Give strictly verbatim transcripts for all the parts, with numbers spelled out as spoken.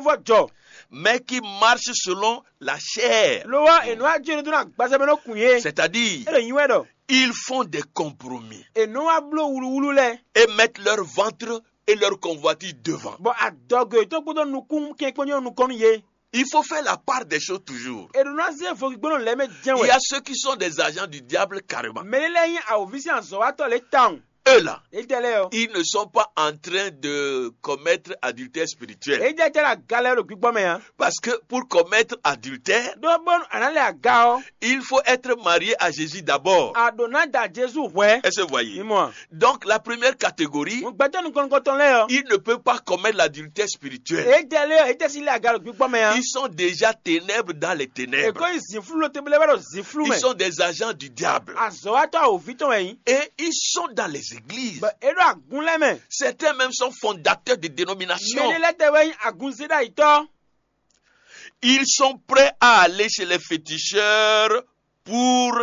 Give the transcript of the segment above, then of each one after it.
vɔ jɔ, mais qui marchent selon la chair. lo ɔ́, è nɔ wá jó ɖo dó ná gbazɛ mɛ nɔ kun yé. C'est-à-dire, É ɖo nyi wɛ ɖɔ ils font des compromis è nɔ wá bló wuluwulu lɛ, et mettent leur ventre et leur convoitise devant. Bɔ adɔgo yětɔn kpódó nukún kɛn kpó nyɔ́ nukɔn nú yé. Il faut faire la part des choses toujours. È ɖo ná zé vogbígbónɔ lɛ́ɛ mɛ jɛ́n Il y wɛ. a ceux qui sont des agents du diable carrément. Mɛ lɛ́ɛ nyí awǒví sín azɔ̌watɔ́ lɛ́ɛ tawun. Eux là, Étɛ́ lɛ́ɛ ɔ́, ils ne sont pas en train de commettre adultère spirituel. Étɛ́ tɛ́ lɛ aga lɛ́ɛ ɖo gbígbɔ́ mɛ ǎ. Parce que pour commettre adultère, Ɖó bónú a nǎ lɛ aga ɔ́, il faut être marié à Jésus d'abord. A ɖǒ ná da Jezu hwɛ̌. Est-ce que vous voyez? Mi mɔ a? Donc la première catégorie, Mo gbɛtɔ́ nukɔn nukɔntɔn lɛ́ɛ ɔ́, ils ne peuvent pas commettre l'adultère spirituel. Étɛ́ lɛ́ɛ ɔ́, étɛ́ sín lɛ aga ɖo gbígbɔ́ mɛ ǎ. Ils sont déjà ténèbres dans les ténèbres. Èkó nyí zǐnflú lo tebele wɛ ɖo zǐnflú Ils mɛ. Sont des agents du diable. Azɔ̌watɔ́ awǒví tɔn wɛ nyí. Et ils sont dans les églises. Bɔ é ɖo agun lɛ́ɛ mɛ. Certains même sont fondateurs de dénominations. Mɛɖé lɛ́ɛ tɛ wɛ nyí agunzéɖayitɔ́. Ils sont prêts à aller chez les féticheurs pour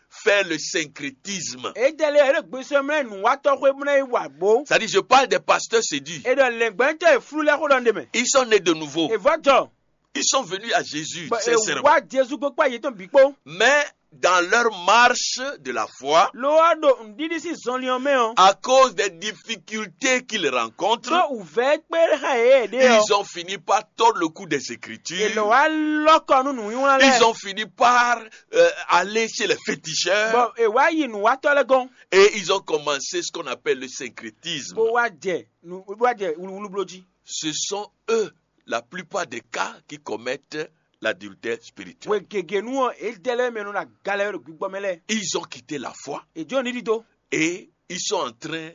faire le syncrétisme. Étɛ́ lɛ́ɛ é ɖo gbésɔ́ mlɛ́ nǔwatɔ́ xwé bó ná yi wa bó. C'est-à-dire, je parle des pasteurs séduits. È ɖɔ lɛ̌ngbɛ́ntɔ́ e flú lɛ́ɛ xó ɖɔ ɖ'é mɛ. Ils sont nés de nouveau. È vɔ́ jɔ, Ils sont venus à Jésus, bɔ è sincèrement. Wá Jezu kpó kpá yětɔn bǐ kpó. Mais dans leur marche de la foi, Lo ɔ́ ɖo nǔɖiɖi sín zɔnlin ɔ́ mɛ ɔ́, à cause des difficultés qu'ils rencontrent, ɖó wǔvɛ́ kpé xa yě ɖe ɔ́, ils ont fini par tordre le cou des è Écritures. lɔ wá lɔ́kɔ nú nǔnywlán Ils lɛ́ɛ. Ont fini par euh, aller chez les féticheurs Bɔ è wá yi nǔwatɔ́ lɛ́ɛ gɔ́n. Et ils ont commencé ce qu'on appelle le syncrétisme. Bó wá jɛ nǔ bó wá jɛ wuluwulu bló jí. Ce sont eux, la plupart des cas, qui commettent l'adultère spirituel. Hwe gěgé nú ɔ́, étɛ́ lɛ́ɛ mɛ nɔ ɖo aga lɛ́ɛ ɖo gbígbɔ́ mɛ lɛ́ɛ. Ils ont quitté la foi È jó nǔɖiɖi dó, et ils sont en train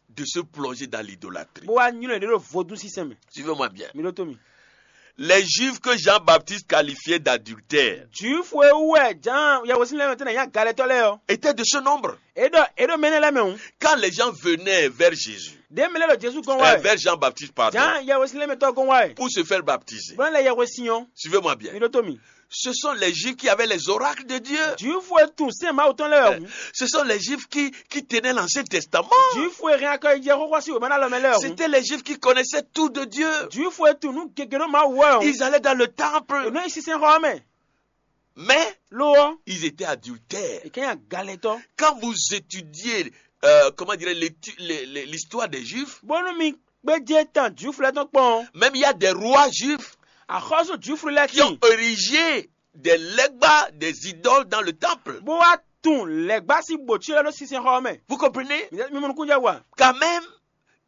de se plonger dans l'idolâtrie. Bó wá nylɔ́ yě ɖo vodún sísɛn mɛ. Suivez-moi bien. Mi ɖótó mi. Les Juifs que Jean-Baptiste qualifiait d'adultères Jwifu e wú wɛ Jǎan yɛhwesin lɛ́ɛ mɛ tɛ́ ná nyí agalɛtɔ́ lɛ́ɛ ɔ́, étaient de ce nombre. É ɖɔ é ɖo mɛ énɛ́ lɛ́ɛ mɛ hǔn. Quand les gens venaient vers Jésus, Ɖě mɛ lɛ́ɛ ɖo Jezu gɔ́n wá euh, wɛ, vers Jean-Baptiste, pardon, Jǎan yɛhwesin lɛ́ɛ mɛ tɔ́ gɔ́n wá wɛ, pour se faire baptiser, bó ná lɛ yɛhwesin ɔ́. Suivez-moi bien. Mi ɖótó mi. Ce sont les Juifs qui avaient les oracles de Dieu. Jwifu e tunwun sɛ́n Mawu tɔn lɛ́ɛ wɛ hǔn. Ce sont les Juifs qui, qui tenaient l'Ancien Testament. Jwifu e hɛn akɔjijɛ xóxó sín wěma ná lɔ mɛ lɛ́ɛ wɛ hǔn. C'étaient les Juifs qui connaissaient tout de Dieu. Jwifu e tunwun nǔ gěgé nú Mawu wɛ hǔn. Ils allaient dans le È temple. nɔ nyi sinsɛnxɔ ɔ́ mɛ. Mais Lo ɔ́, ils étaient adultères. È ká nyí agalɛtɔ́. Quand vous étudiez, euh, comment dirais, l'étu- les- les- l'histoire des Juifs, Bónú mi gbéjé tán Jwifu lɛ́ɛ tɔn kpɔ́n ɔ́, même il y a des rois juifs axɔ́sú Jwifu lɛ́ɛ qui ont tíin. érigé des legbas, des idoles dans le temple. Bó wá tunwun lɛ̌gbá sín bǒcyɔ lɛ́ɛ ɖó sinsɛnxɔ ɔ́ mɛ. Vous comprenez? Mi mi mɔ nukúnjɛ wa. Quand même,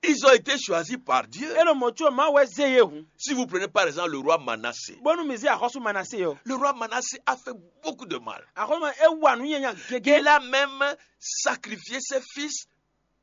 ils ont été choisis par Dieu. É ɖo mɔ̌ có Mawu wɛ zé yě hǔn. Si vous prenez par exemple le roi Manassé, Bónú mi zé axɔ́sú Manasée ɔ́, le roi Manassé a fait beaucoup de mal. Axɔ́sú ma é wa nǔ nyanya gégé. Il a même sacrifié ses fils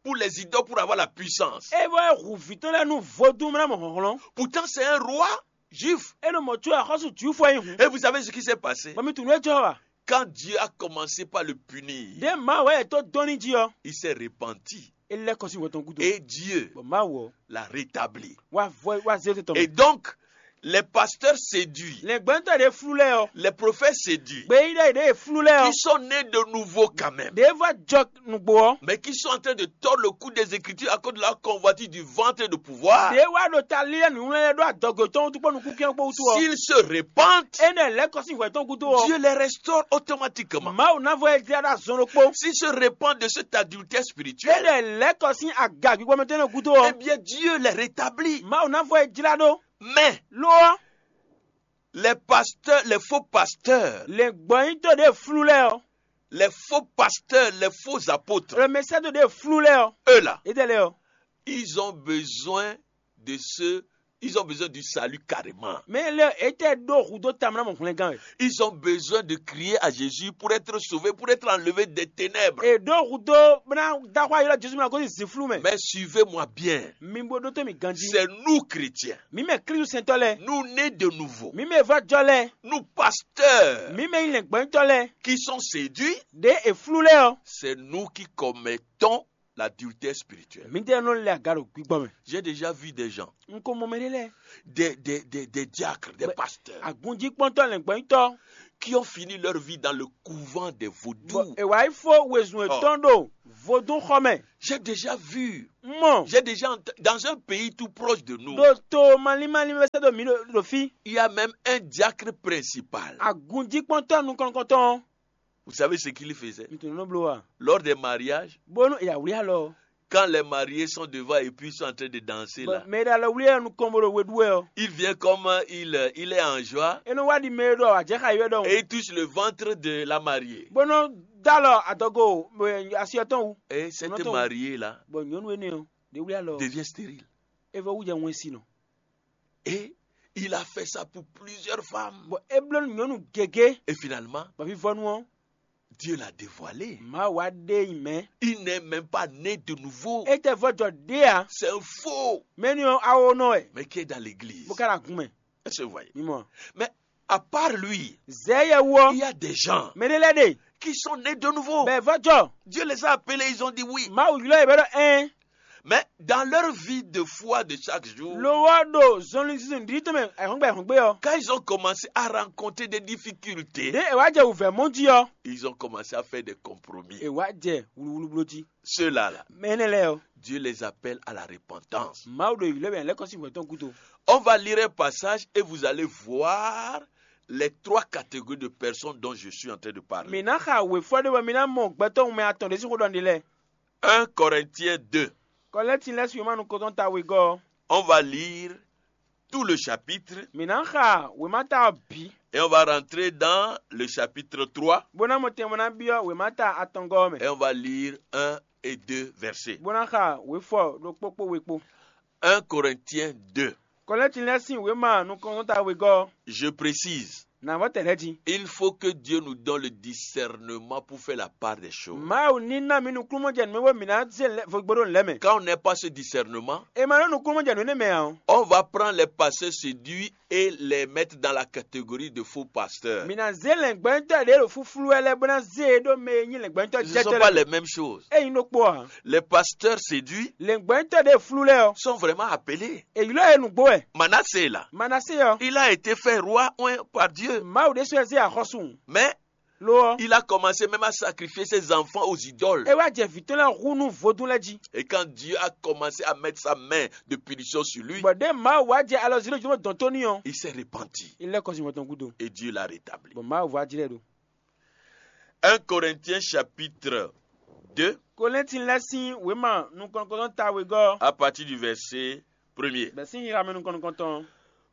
pour les idoles pour avoir la puissance. É bɔ é hu vǐ tɔn lɛ́ɛ nú vodún mɛ ná mɔ hlɔ̌nhlɔ́n. Pourtant, c'est un roi juif. É ɖo mɔ̌ có axɔ́sú Jwifu wɛ nyí hǔn. Et vous savez ce qui s'est passé? Bɔ mi tunwun nǔ e jɔ wa. Quand Dieu a commencé par le punir, Ɖě Mawu wɛ yɛ tó dɔn ní jí ɔ́, il s'est repenti. É lɛ́ kɔ sín hwɛ tɔn gúdo. Et Dieu Bɔ Mawu ɔ́, l'a rétabli. Wá vɔ wá zé tɔn. Et donc, les pasteurs séduits, Lɛ̌ngbɛ́ntɔ́ ɖě flú lɛ́ɛ ɔ́, les prophètes séduits, gbeyíɖɔ ɖě flú lɛ́ɛ ɔ́, qui sont nés de nouveau quand même, ɖě vɔ jɔ nǔgbó ɔ́, mais qui sont en train de tordre le cou des Écritures à cause de la convoitise du ventre et de pouvoir, ɖě wá ɖo ta lílɛ́ nǔnywɛ́ lɛ́ɛ ɖó adɔgo tɔn wútu kpó nukúnkyɔ́n kpó wútu ɔ́, s'ils se repentent, énɛ́ lɛ́ kɔ sín hwɛ tɔn gúdo ɔ́, Dieu les restaure automatiquement. Mawu ná vɔ é jlá ɖó azɔn ɖokpó. S'ils se repentent de cet adultère spirituel, Énɛ́ lɛ́ kɔ sín aga gbígbɔ́mɛtɔn énɛ́ gúdo eh ɔ́, bien, Dieu les rétablit. Mawu ná vɔ é jlá ɖó. Mais Lo ɔ́, les pasteurs, les faux pasteurs, lɛ̌ngbɔ́nyítɔ́ ɖě flú lɛ́ɛ ɔ́, les faux pasteurs, les faux apôtres, lɛ̌mɛsɛ́dó ɖě flú lɛ́ɛ ɔ́, eux là, étɛ́ lɛ́ɛ ɔ́, ils ont besoin de ce, ils ont besoin du salut carrément. Mɛ lɛ́ɛ étɛ́ ɖó hudó tamɛ ná mɔ hwlɛngán wɛ. Ils ont besoin de crier à Jésus pour être sauvés, pour être enlevés des ténèbres. È ɖó hudó bó ná dá xwá ylɔ́ Jezu ná gosín zǐnflú mɛ. Mais suivez-moi bien. Mi bo ɖótó mi ganjí. C'est nous chrétiens. Mi mɛ Klísu sɛntɔ́ lɛ́ɛ. Nous nés de nouveau. Mi mɛ vɔ́ jɔ lɛ́ɛ. Nous pasteurs Mi mɛ nyí lɛ̌ngbɔ́nyítɔ́ lɛ́ɛ. Qui sont séduits. Ɖě è flú lɛ́ɛ ɔ́. C'est nous qui commettons l'adultère spirituelle. Mǐdɛɛ nɔ lɛ aga ɖo gbígbɔ mɛ. J'ai déjà vu des gens, Un ko mɔ mɛ ɖé lɛ́ɛ. Des, des, des, des diacres, des pasteurs, Agunjíkpɔ́ntɔ́ lɛ̌ngbɔ́nyitɔ́. Qui ont fini leur vie dans le couvent des vaudous. È wǎ yi fó wezun yětɔn ɖo vodún xɔ mɛ. J'ai déjà vu. Un mɔ. J'ai déjà ent- dans un pays tout proche de nous. Ɖo to malín malín mɛ sɛ́ ɖo mǐ ɖo ɖo fí. Il y a même un diacre principal. Agunjíkpɔ́ntɔ́ nukɔn nukɔntɔn. Vous savez ce qu'il faisait? Mi tunɔ nɔ bló wa. Lors des mariages, Bónú è yǎ wlí alɔ. Quand les mariés sont devant et puis ils sont en train de danser là, Mɛ e ɖo alɔ wlí ɛ nukɔn bó ɖo we ɖú wɛ ɔ́. Il vient comme il, il est en joie. É nɔ wá ɖi mɛ e ɖɔ àjɛxá yi wɛ ɖɔhun. Et il touche le ventre de la mariée. Bó nɔ dó alɔ adɔgo asi ɔ́ tɔn wú. Et cette mariée-là Bɔ nyɔ̌nu énɛ́ ɔ́, ɖě wlí alɔ. Devient stérile. É vɔ wú jɛ wɛn si nɔ. Et il a fait ça pour plusieurs femmes. Bɔ é bló nú nyɔ̌nu gěgé. Et finalement, Bɔ fífɔ́nú ɔ́, Dieu l'a dévoilé. Mawu wá ɖe nyi mɛ. Il n'est même pas né de nouveau. É tɛ vɔ jɔ ɖé ǎ. C'est un faux. Mɛ énɛ́ ɔ́, awo nɔ wɛ. Mais qui est dans l'église. Bó ká ɖo agun mɛ. Est-ce que vous voyez? Mi mɔ. Mais à part lui, Zɛ yɛ wú ɔ́, il y a des gens Mɛ ɖé lɛ́ɛ ɖe. Qui sont nés de nouveau. Bɛ vɔ jɔ. Dieu les a appelés, ils ont dit oui. Mawu ylɔ́ yě bɛ ɖɔ ɛn. Mais dans leur vie de foi de chaque jour, Lo wɔ ɖo zɔnlin zizun ɖiɖi tɔn mɛ ɛhɔngbe ɛhɔngbe ɔ́. Quand ils ont commencé à rencontrer des difficultés, Ɖě è wá jɛ wǔvɛ́ mɔ jí ɔ́. Ils ont commencé à faire des compromis. È wá jɛ wluwlubló jí. Ceux-là, là, Mɛ énɛ́ lɛ́ɛ ɔ́. Dieu les appelle à la repentance. Mawu ɖo ylɔ́ bɛ lɛ́ kɔ sín hwɛ tɔn gúdo. On va lire un passage et vous allez voir les trois catégories de personnes dont je suis en train de parler. Mǐ ná xa wěfɔ ɖé bɔ mi ná mɔ gbɛtɔ́ wunmɛ atɔn ɖé sín xó ɖɔ ɖe lɛ́ɛ. Un Corinthiens deux. Kɔlɛ́ntin lɛ́ɛ sín wěma nukɔntɔn ta wegɔ́ ɔ́. On va lire tout le chapitre. Mǐ ná xa wěma ta ɔ́ bǐ. Et on va rentrer dans le chapitre trois. Bó ná mɔ tɛnmɔ ná byɔ́ wěma ta atɔngɔ́ ɔ́ mɛ. Et on va lire un et deux versets. Bó ná xa wěfɔ ɖokpó kpó we kpó. Un Corinthiens deux. Kɔlɛ́tin lɛ́ɛ sín wěma nukɔntɔn ta wegɔ́ ɔ́. Je précise. Nǎ vɔ́ tɛ̌ lɛ́ɛ jí. Il faut que Dieu nous donne le discernement pour faire la part des choses. Mawu ní ná mi nukúnnú jɛ nǔ mɛ bó mǐ ná zé lɛ- vo gbóɖó nǔ lɛ́ɛ mɛ. Quand on n'a pas ce discernement, E ma ɖó nukúnnú jɛ nǔ énɛ́ mɛ ǎ ɔ́. On va prendre les pasteurs séduits et les mettre dans la catégorie de faux pasteurs. Mǐ ná zé lɛ̌ngbɛ́ntɔ́ ɖě ɖo fúflú wɛ lɛ́ɛ bó ná zé e ɖó mɛ e nyí lɛ̌ngbɛ́ntɔ́ Ce ne sont jɛtɔ́ pas lɛ́ɛ. Les mêmes choses. É nyí ɖokpó ǎ. Les pasteurs séduits Lɛ̌ngbɛ́ntɔ́ ɖě flú lɛ́ɛ ɔ́. Sont vraiment appelés. È ylɔ́ ɛ nǔgbó wɛ. Manassé là, Manasée ɔ́. Il a été fait roi, oint par Dieu. Mawu ɖésú ɛ zé axɔ́sú. Mais Lo ɔ́. Il a commencé même à sacrifier ses enfants aux idoles. É wá jɛ vǐ tɔn lɛ́ɛ hu nú vodún lɛ́ɛ jí. Et quand Dieu a commencé à mettre sa main de punition sur lui, Bɔ ɖěe Mawu wá jɛ alɔ zǐn ɖo jǒnɔ dɔn tó n'i ɔ́. Il s'est repenti. É lɛ́ kɔ sin hwɛ tɔn gúdo. Et Dieu l'a rétabli. Bɔ Mawu vɔ ajlɛ́ ɖó. Un Corinthiens chapitre deux, Kolɛ́ntin lɛ́ɛ sín wěma nukɔn nukɔntɔn ta wegɔ́. À partir du verset premier. Bɛ̌ sín xixa mɛ nukɔn nukɔntɔn.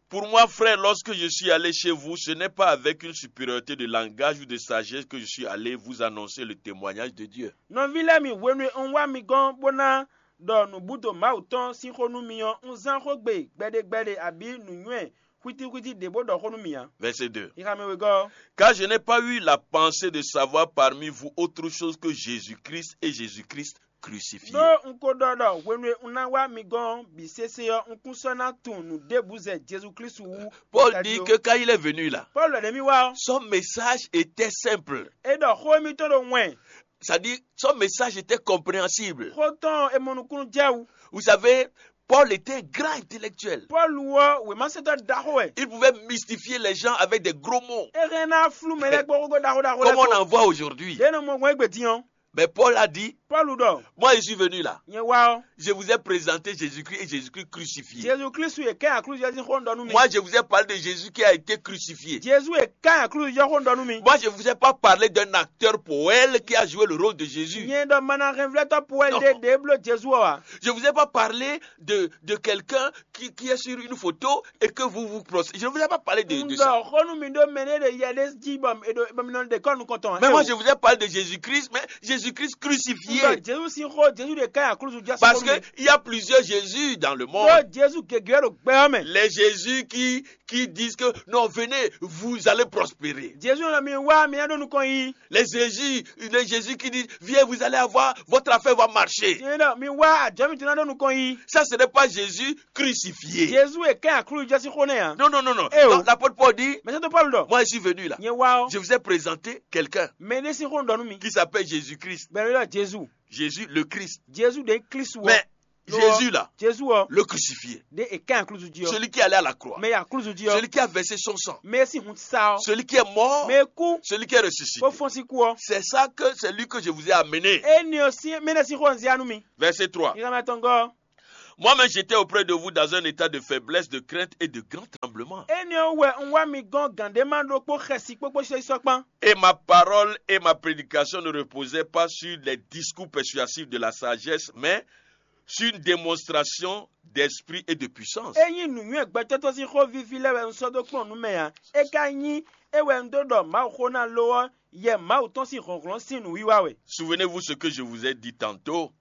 Pour moi, frère, lorsque je suis allé chez vous, ce n'est pas avec une supériorité de langage ou de sagesse que je suis allé vous annoncer le témoignage de Dieu. Nɔví lɛ́ɛ mi, hwenu e un wá mi gɔ́n bó ná ɖɔ nǔbúdo Mawu tɔn sín xó nú mi ɔ́, un zán xógbe gbɛɖegbɛɖe abǐ nǔnywɛ́ xwítíxwítí ɖě bó ɖɔ xó nú mi ǎ. Verset deux. Xixa mɛ wegɔ́. Car je n'ai pas eu la pensée de savoir parmi vous autre chose que Jésus-Christ et Jésus-Christ crucifié. Ɖó un ko ɖɔ ɖɔ hwenu e un ná wá mi gɔ́n ɔ́ bǐ sésé ɔ́, un kún sɔ́ ná tunwun nǔ ɖěbǔ zɛ Jezu Klísu wú. Paul dit que quand il est venu là, Pɔ́lu ɖɔ ɖě mì wá ɔ́, son message était simple. É ɖɔ xó émítɔn ɖo wɛn. C'est-à-dire, son message était compréhensible. Xó tɔn e mɔ nukúnnú jɛ wú. Vous savez, Paul était un grand intellectuel. Pɔ́lu ɔ́, wěmasɛntɔ́ ɖaxó wɛ. Il pouvait mystifier les gens avec des gros mots. É hɛn ná flú mɛ lɛ́ɛ kpó xógó ɖaxó ɖaxó lɛ́ɛ. Comme on en voit aujourd'hui. Ɖě nɔ mɔ gbɔn égbé din ɔ́. Mais Paul a dit, Pɔ́lu ɖɔ. Moi, je suis venu là. Nyɛ wá ɔ́. Je vous ai présenté Jésus-Christ et Jésus-Christ crucifié. Jezu Kristu e kɛ́n aklúzu ɔ́ sín xó un ɖɔ nú mi. Moi, je vous ai parlé de Jésus qui a été crucifié. Jezu e kɛ́n aklúzu ɔ́ xó un ɖɔ nú mi. Moi, je vous ai pas parlé d'un acteur poèle qui a joué le rôle de Jésus. Nyɛ ɖɔ mana hɛnvlɛ́tɔ́ poèle ɖé ɖě bló Jezu ɔ́ ǎ. Je vous ai pas parlé de, de quelqu'un qui, qui est sur une photo et que vous vous prost-, je ne vous ai pas parlé de, de ça. Un ɖɔ xó nú mi ɖó mɛ ɖé ɖe yɛ ɖé jí bɔ mi nɔ ɖe kɔ́ nukɔn tɔn. Mais moi, je vous ai parlé de Jésus-Christ, mais Jésus-Christ crucifié. Un ɖɔ Jezu sín xó, Jezu ɖe ká nyi aklúzu jí. Parce que il y a plusieurs Jésus dans le monde. Ɖó Jezu gěgé ɖo gbɛ ɔ́ mɛ. Les Jésus qui, qui disent que non, venez, vous allez prospérer. Jezu ɖɔ mi wá mi ná ɖó nukɔn yi. Les Jésus, les Jésus qui disent, viens, vous allez avoir, votre affaire va marcher. Jezu ɖɔ mi wá àjɔ mi tún ná ɖó nukɔn yi. Ça, ce n'est pas Jésus crucifié. Jezu e kɛn aklúzu jɔ sín xó nɛ́ ǎ. Non, non, non, non. Eh o. Donc, l'apôtre Paul dit, Mɛsɛntɔ Pɔlu ɖɔ. Moi, je suis venu là. Nyɛ wá ɔ. Je vous ai présenté quelqu'un. Mɛ ɖé sín xó un ɖɔ nú mi. Qui s'appelle Jésus-Christ. Bɛn mi ɖɔ Jezu. Jésus le Christ. Jezu ɖe Kristu ɔ. Mais Jésus là, Jezu ɔ. Le crucifié. Ɖe è kán aklúzu jí ɔ. Celui qui allait à la croix. Mɛ yi aklúzu jí ɔ. Celui qui a versé son sang. Mɛ e sín hun sa ɔ. Celui qui est mort. Mɛ e kú. Celui qui est ressuscité. Bó fɔ́n sín kú ɔ. C'est ça que c'est lui que je vous ai amené. Éni ɔ sín mɛ ɖé sín xó ɔ́ un zé wá nú mi. Verset trois. Nyǐkɔ mɛ tɔn gɔ́. Moi-même, j'étais auprès de vous dans un état de faiblesse, de crainte et de grand tremblement. Éni ɔ́ wɛ un wá mi gɔ́n gǎn ɖé má ɖokpó xɛsi kpókpó sɔ́ kpán. Et ma parole et ma prédication ne reposaient pas sur les discours persuasifs de la sagesse, mais sur une démonstration d'esprit et de puissance. Ényí nǔnywɛ́ gbɛtɔ́tɔ́ sín xó víví lɛ́ɛ wɛ un sɔ́ dó kplɔ́n nǔ mɛ ǎ; é ka nyí é wɛ un dó ɖɔ Mawuxó ná lo ɔ́, yɛ Mawu tɔn sín hlɔ̌nhlɔ́n sín nǔwiwa wɛ. Souvenez-vous ce que je vous ai dit tantôt.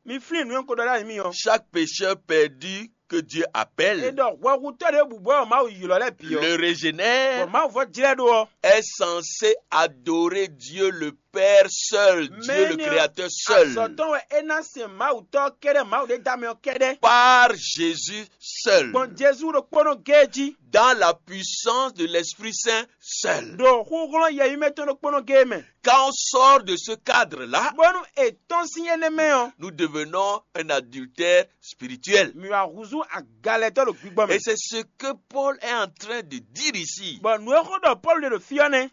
Mi flín nǔ e un ko ɖɔ ɖ'ayǐ mi ɔ́. Chaque pécheur perdu que Dieu appelle, é ɖɔ hwɛhutɔ́ ɖěbǔ bɔ Mawu ylɔ́ lɛ́ɛ bǐ ɔ́, le bɔ régénère, Mawu vɔ́ jlɛ́ ɖó ɔ́, est censé adorer Dieu le Père seul, Dieu le Créateur seul, azɔ̌tɔn wɛ é ná sɛn Mawu tɔ́ kɛ́ɖɛ́, Mawu ɖé dá mɛ ɔ́ kɛ́ɖɛ́, par Jésus seul, gbɔn Jezu ɖokpónɔ géé jí, dans la puissance de l'Esprit Saint seul. Ɖo xúxlɔ́n yɛyímɛ tɔn ɖokpónɔ géé mɛ. Quand on sort de ce cadre-là, bónú è tɔ́n sín énɛ́ mɛ ɔ́, nous devenons un adultère spirituel. Mǐ wá húzú agalɛtɔ́ ɖo gbígbɔ mɛ. Et c'est ce que Paul est en train de dire ici. Bɔ nǔ e xó ɖɔ Pɔ́lu ɖe ɖo fí ɔ́ nɛ́.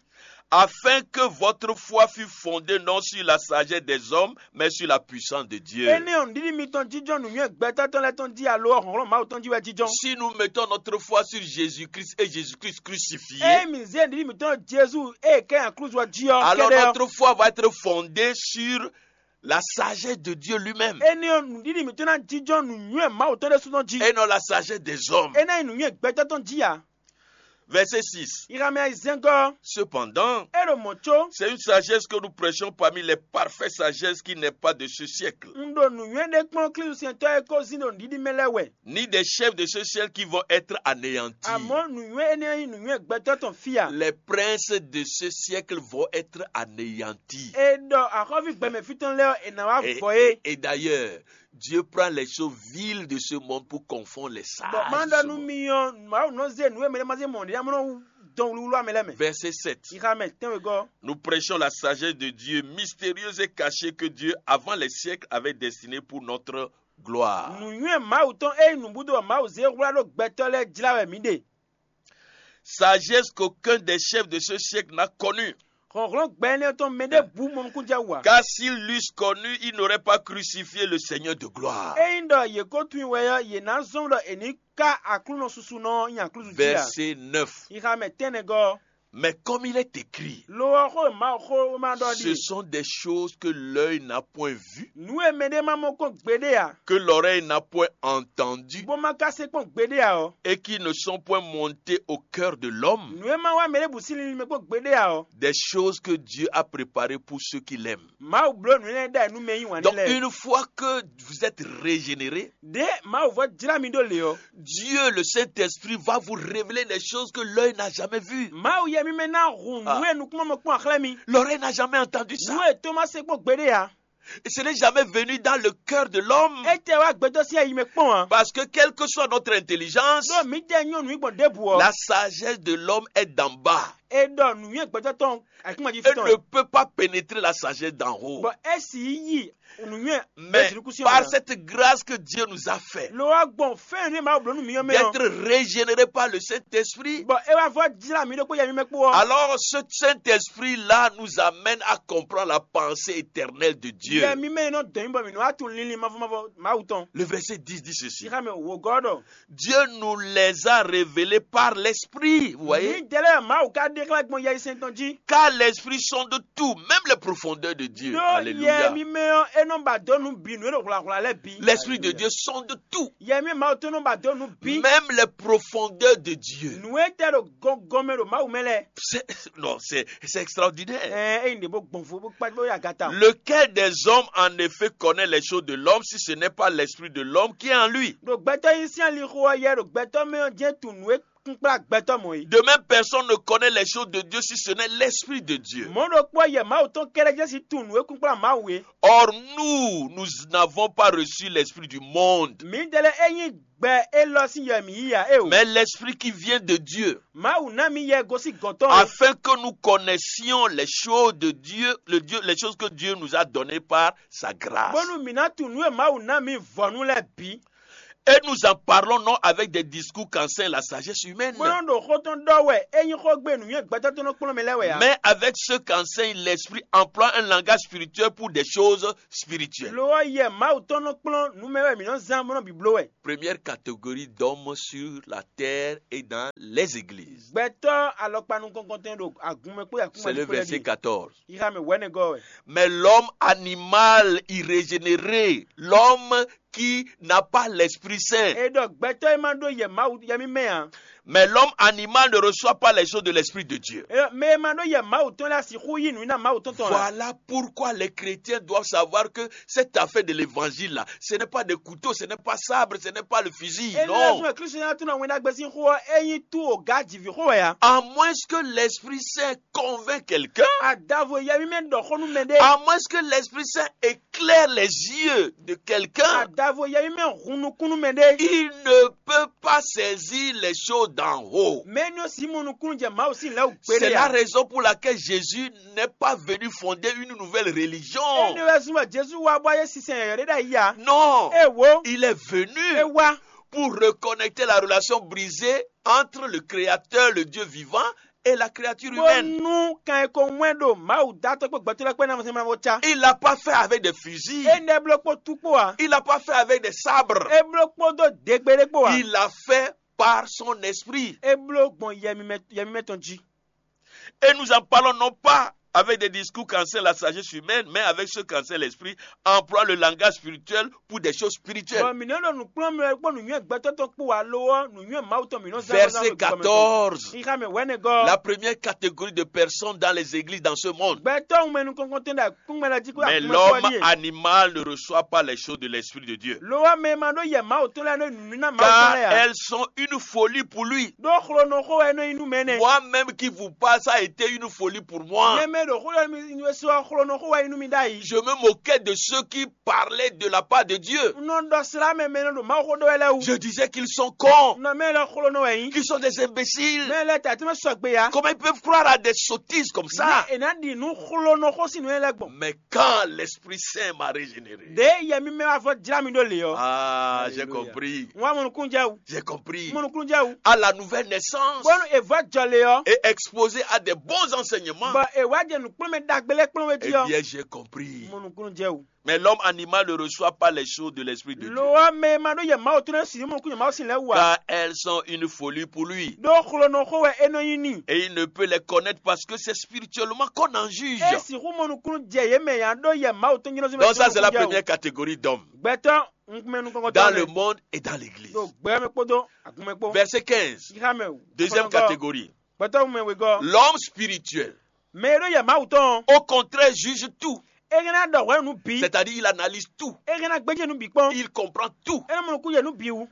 Afin que votre foi fût fondée non sur la sagesse des hommes, mais sur la puissance de Dieu. Énɛ́ ɔ́, nǔɖiɖi mitɔn jínjɔ́n nǔnywɛ́ gbɛtɔ́ tɔn lɛ́ɛ tɔn jí alo ɔ́, hlɔ̌nhlɔ́n Mawu tɔn jí wɛ jínjɔ́n. Si nous mettons notre foi sur Jésus-Christ et Jésus-Christ crucifié, ée mǐ zé nǔɖiɖi mǐtɔn ɖo Jezu ée è ká nyi aklúzu ɔ́ jí ɔ́ alors kɛ́ɖɛ́ ɔ́, notre foi va être fondée sur la sagesse de Dieu lui-même énɛ́ ɔ́, nǔɖiɖi mǐtɔn ná jínjɔ́n nǔnywɛ́ Mawu tɔn ɖésú tɔn jí. Et non la sagesse des hommes. É ná nyí nǔnywɛ́ gbɛtɔ́ tɔn jí ǎ. Verset six. Iha mɛ ayizɛ́ngɔ́. Cependant, é ɖo mɔ̌ có. C'est une sagesse que nous prêchons parmi les parfaits sagesses qui n'est pas de ce siècle. Un ɖo nǔnywɛ́ ɖé kplɔ́n Klísusɛntɔ́ e ko zín ɖo nǔɖiɖi mɛ lɛ́ɛ wɛ. Ni des chefs de ce siècle qui vont être anéantis. Àmọ́ nǔnywɛ́ énɛ́ nyí nǔnywɛ́ gbɛtɔ́ tɔn fí a? Les princes de ce siècle vont être anéantis. È ɖɔ axɔ́ví gbɛmɛ fí tɔn lɛ́ɛ ɔ́, è nǎ wá vɔ é. Et d'ailleurs, Dieu prend les choses viles de ce monde pour confondre les sages. Bɔ má ɖɔ nú mi ɔ́, Mawu nɔ zé nǔ e mɛ ɖé ma zé mɔ ɖě amlɔ dɔn wluwlu amɛ lɛ́ɛ mɛ. Verset sept. Xixa mɛ tɛ́nwegɔ́. Nous prêchons la sagesse de Dieu, mystérieuse et cachée, que Dieu, avant les siècles, avait destinée pour notre gloire. Nǔnywɛ́ Mawu tɔn e nyí nǔbúdo Mawu zé hwlá ɖó gbɛtɔ́ lɛ́ɛ jlá wɛ mǐ ɖe. Sagesse qu'aucun des chefs de ce siècle n'a connue. Hlɔ̌nhlɔ́n gbɛ énɛ́ tɔn mɛ ɖěbǔ mɔ nukúnjɛ wú ǎ. Car s'ils l'eussent connu, ils n'auraient pas crucifié le Seigneur de gloire. Ényí ɖɔ yě ko tunwun wɛ ɔ́, yě ná zɔ́n ɖɔ è ní ká Aklúnɔ susunɔ ɔ́ nyi aklúzu jí ǎ. Verset neuf. Xixa mɛ tɛ́nnɛgɔ́. Mais comme il est écrit, lo ɔ́ xó e Mawu xó ma ɖɔ ce ɖi sont des choses que l'œil n'a point vues, nǔ e mɛɖé ma mɔ kpɔ́n gbeɖé ǎ, que l'oreille n'a point entendues, bó ma ka se kpɔ́n gbeɖé ǎ ɔ́, et qui ne sont point montées au cœur de l'homme, nǔ e ma wá mɛ ɖěbǔ sín linlin mɛ kpɔ́n gbeɖé ǎ ɔ́, des choses que Dieu a préparées pour ceux qui l'aiment. Mawu bló nǔ énɛ́ ɖ'ayǐ nú mɛ e yí wǎn n'i Donc lɛ́ɛ. Une fois que vous êtes régénéré, ɖě Mawu vɔ jlá mi ɖó lě ɔ́, Dieu, le Saint-Esprit, va vous révéler des choses que l'œil n'a jamais vues. Mawu yɛ mímɛ́ ná hun Ah. nǔ e nukúnmɔ kpɔ́n axlɛ́ mi. L'oreille n'a jamais entendu ça. Nǔ e tó ma se kpɔ́n gbeɖé ǎ. Et ce n'est jamais venu dans le cœur de l'homme. Étɛ́ wá gbɛtɔ́ sín ayi mɛ kpɔ́n ǎ. Parce que quelle que soit notre intelligence, Ɖó mǐ tɛ nyɔ́ nǔ gbɔn ɖěbǔ ɔ́, la sagesse de l'homme est d'en bas. É ɖɔ nǔnywɛ́ gbɛtɔ́ tɔn ayǐkúngban jí fí Elle tɔn. Ne Peut pas pénétrer la sagesse d'en haut. Bɔ é sì yi nǔnywɛ́ Mais par cette grâce que Dieu nous a fait, lo wá gbɔn fɛn ne Mawu bló nú mi ɔ́ mɛ ɔ́, d'être régénéré par le Saint-Esprit, bɔ é wá vɔ jlá mi ɖokpó yɛ mi mɛ kpó ɔ́, alors ce Saint-Esprit-là nous amène à comprendre la pensée éternelle de Dieu. Yɛ mi mɛ nɔ dɔn mi bɔ mi nɔ wá tunwun linlin mavɔ mavɔ Mawu tɔn. Le verset dix dit ceci. Xixa mɛ wògɔ́ ɖɔ Dieu nous les a révélés par l'Esprit. Vous voyez? Ní dɛlɛ Mawu ka ɖe xlɛ́ gbɔn yɛyisɛn tɔn jí. Car l'Esprit sonde tout, même les profondeurs de Dieu. Ɖó Alléluia. Yɛ mímɛ ɔ́, é nɔ ba dó nú bǐ nǔ e ɖo hwlǎhwlá lɛ́ɛ bǐ. L'Esprit de Dieu sonde tout. Yɛ mí Mawu tó nɔ ba dó nú bǐ. Même les profondeurs de Dieu. Nǔ e tɛ ɖo gɔngɔn mɛ ɖo Mawu mɛ lɛ́ɛ. C'est- Non, c'est c'est extraordinaire. Ɛɛ, eyi ɖe bó gbɔn fó bó kpá bó yi agata. Lequel des hommes en effet connaît les choses de l'homme si ce n'est pas l'esprit de l'homme qui est en lui? Ɖo gbɛtɔ́ yí sín alixo ɔ́ yɛ ɖo gbɛtɔ́ mɛ ɔ́ jɛ́n tunwun nǔ e kúnkplá gbɛtɔ́ mɔ̌ é. De même, personne ne connaît les choses de Dieu si ce n'est l'Esprit de Dieu. Mɔ̌ ɖokpó yɛ Mawu tɔn kɛ́ɖɛ́ jɛ́n sín tunwun nǔ e kúnkplá Mawu é. Or, nous, nous n'avons pas reçu l'Esprit du monde, Mǐdɛɛ lɛ́ɛ é nyí gbɛ élɔ́ sín yɛ mǐ yí ǎ é o. Mais l'Esprit qui vient de Dieu, Mawu ná mì yɛ gosín gɔ̌n tɔn é. Afin que nous connaissions les choses de Dieu, le Dieu, les choses que Dieu nous a données par sa grâce. Bónú mǐ ná tunwun nǔ e Mawu ná mǐ vɔ̌nu lɛ́ɛ bǐ. Et nous en parlons non avec des discours qu'enseigne la sagesse humaine, Bó nɔ́ ɖo xó tɔn ɖɔ wɛ é nyí xó gbe nǔnywɛ́ gbɛtɔ́ tɔn nɔ kplɔ́n mɛ lɛ́ɛ wɛ ǎ. Mais avec ceux qu'enseigne l'esprit, emploie un langage spirituel pour des choses spirituelles. Lo ɔ́, yɛ Mawu tɔn nɔ kplɔ́n nǔ mɛ wɛ mǐ nɔ zán bó nɔ bǐbló wɛ. Première catégorie d'hommes sur la terre et dans les églises. Gbɛtɔ́ alɔkpa nukɔntɔn ɖo agun mɛ kpó yakún C'est le verset quatorze. Yixa mɛ wɛ̌nɛgɔ́ wɛ. Mais l'homme animal irrégénéré, l'homme qui n'a pas l'Esprit Saint. E ɖɔ gbɛtɔ́ e ma ɖó yɛ Mawu yɛ mímɛ́ ǎ. Mais l'homme animal ne reçoit pas les choses de l'Esprit de Dieu. E ɖɔ mɛ e ma ɖó yɛ Mawu tɔn lɛ́ɛ sixú yí nǔ ná Mawu tɔn tɔn ǎ. Voilà pourquoi les chrétiens doivent savoir que cette affaire de l'évangile là, ce n'est pas des couteaux, ce n'est pas sabre, ce n'est pas le fusil. E Non. Lɛ́ zɔn Kristu ná tún ná wɛn ɖagbe sín xó ɔ́, é nyí tú o gǎ jǐví xó wɛ ǎ. À moins que l'Esprit Saint convainc quelqu'un, Adavo yɛ mímɛ́ ɖɔ xó nú mɛ ɖé. À moins que l'Esprit Saint éclaire les yeux de quelqu'un, Adavo yɛ mímɛ́ hun nukún nú mɛ ɖé. Il ne peut pas saisir les choses d'en haut. Mɛ énɛ́ ɔ́ sixú mɔ nukúnnú jɛ Mawu sín lɛ̌ wú C'est gbeɖé la ǎ. Raison pour laquelle Jésus n'est pas venu fonder une nouvelle religion. Énɛ́ wɛ zɔ́n bɔ Jezu wá bɔ ayé sinsɛn yɔ̌yɔ́ ɖé ɖ'ayǐ ǎ. Non. Éwo. Il est venu É wá. Pour reconnecter la relation brisée entre le Créateur, le Dieu vivant, et la créature humaine. Bónú kan e ko wɛn ɖo Mawu dátɔ́ kpó gbɛtɔ́ lɛ́ɛ kpó ná mɔsɛn mavɔ cá. Il l'a pas fait avec des fusils. É nɛ́ bló kpó tú kpó ǎ. Il l'a pas fait avec des sabres. É bló kpódó degbe ɖé kpó ǎ. Il l'a fait par son esprit. É bló gbɔn yɛmimɛ yɛmimɛ tɔn jí. Et nous en parlons non pas avec des discours qu'enseigne la sagesse humaine, mais avec ceux qu'enseigne l'esprit, emploie le langage spirituel pour des choses spirituelles. Bɔ mǐ nɔ ɖo nǔkplɔ́nmɛ kpó nǔnywɛ́ gbɛtɔ́ tɔn kpó alo ɔ́, nǔnywɛ́ Mawu tɔn mǐ nɔ zán Verset quatorze. Xixa mɛ wɛ̌nɛgɔ́. La première catégorie de personnes dans les églises dans ce monde. Gbɛtɔ́ wunmɛ nukɔn tɛn ɖo akúngbɛ́ lɛ́ɛ jí kó Mais akúnmɛ l'homme kɔ́ ɖíe. Animal ne reçoit pas les choses de l'Esprit de Dieu. Lo ɔ́ mɛ e ma ɖó yɛ Mawu tɔn lɛ́ɛ nɔ nǔ ná Mawu tɔn Car lɛ́ɛ ǎ. Elles sont une folie pour lui. Ɖó xlonɔxó wɛ é nɔ nyí nú mɛ nɛ́. Moi-même qui vous parle, ça a été une folie pour moi. Nyɛ mɛ ɖo xó ɖɔ mi sɔ xlonɔxó wɛ é nyí nú mi ɖ'ayǐ. Je me moquais de ceux qui parlaient de la part de Dieu. Un nɔ ɖɔ slá mɛ mɛ nɔ ɖo Mawu xó ɖɔ wɛ lɛ́ɛ wú. Je disais qu'ils sont cons, Nɔ mɛ lɛ xlonɔ wɛ nyí. Qu'ils sont des imbéciles. Mɛ lɛ tɛ́ tɛ́ mɛ sɔgbe ya. Comment ils peuvent croire à des sottises comme ça? Mɛ è nǎ ɖi nú xlonɔxó sín nǔ lɛ́ɛ gbɔn. Mais quand l'Esprit Saint m'a régénéré, Ɖě yɛ mímɛ́ wá vɔ jlá mi ɖó lě ɔ́. Ah, j'ai Alléluia. Compris. Wọ́n á mɔnukúnjɛ wú. J'ai compris. Mɔnukúnjɛ wú. À la nouvelle naissance, Bónú è vɔ́ jɔ lě ɔ́. Et exposé à des bons enseignements. Bɔ è wá jɛ nǔkplɔ́nmɛ ɖagbe lɛ́ɛ kplɔ́n wé jí Eh ɔ́. Bien, j'ai compris. Mɔnukúnjɛ wú. Mais l'homme animal ne reçoit pas les choses de l'esprit de Dieu. Lo ɔ́ mɛ e ma ɖó yɛ Mawu tló si ní mɔnukúnjɛ Mawu sin lɛ́ɛ wú ǎ. Car elles sont une folie pour lui. Ɖó xlonɔxó wɛ é nɔ nyí n'i. Et il ne peut les connaître parce que c'est spirituellement qu'on en juge. É sixú mɔnukúnú jɛ yě mɛ ǎ ɖó yɛ Mawu tɔn nyɔ́nɔzɔ́ Donc ça, c'est la première catégorie d'hommes. Gbɛtɔ́ nukúnmɛ nukɔn Dans le monde et dans l'église. Ɖo gbɛ mɛ kpódó agun mɛ kpó. Verset quinze. Xixa mɛ wú. Deuxième catégorie. Gbɛtɔ́ mɛ wegɔ́. L'homme spirituel, Mɛ e ɖó yɛ Mawu tɔn ɔ́, au contraire, juge tout. É hɛn ná ɖɔ hwɛ nú bǐ. C'est-à-dire, il analyse tout. É hɛn ná gbéjé nú bǐ kpɔ́n. Il comprend tout. É nɔ mɔ nukún yɛ nú bǐ wú.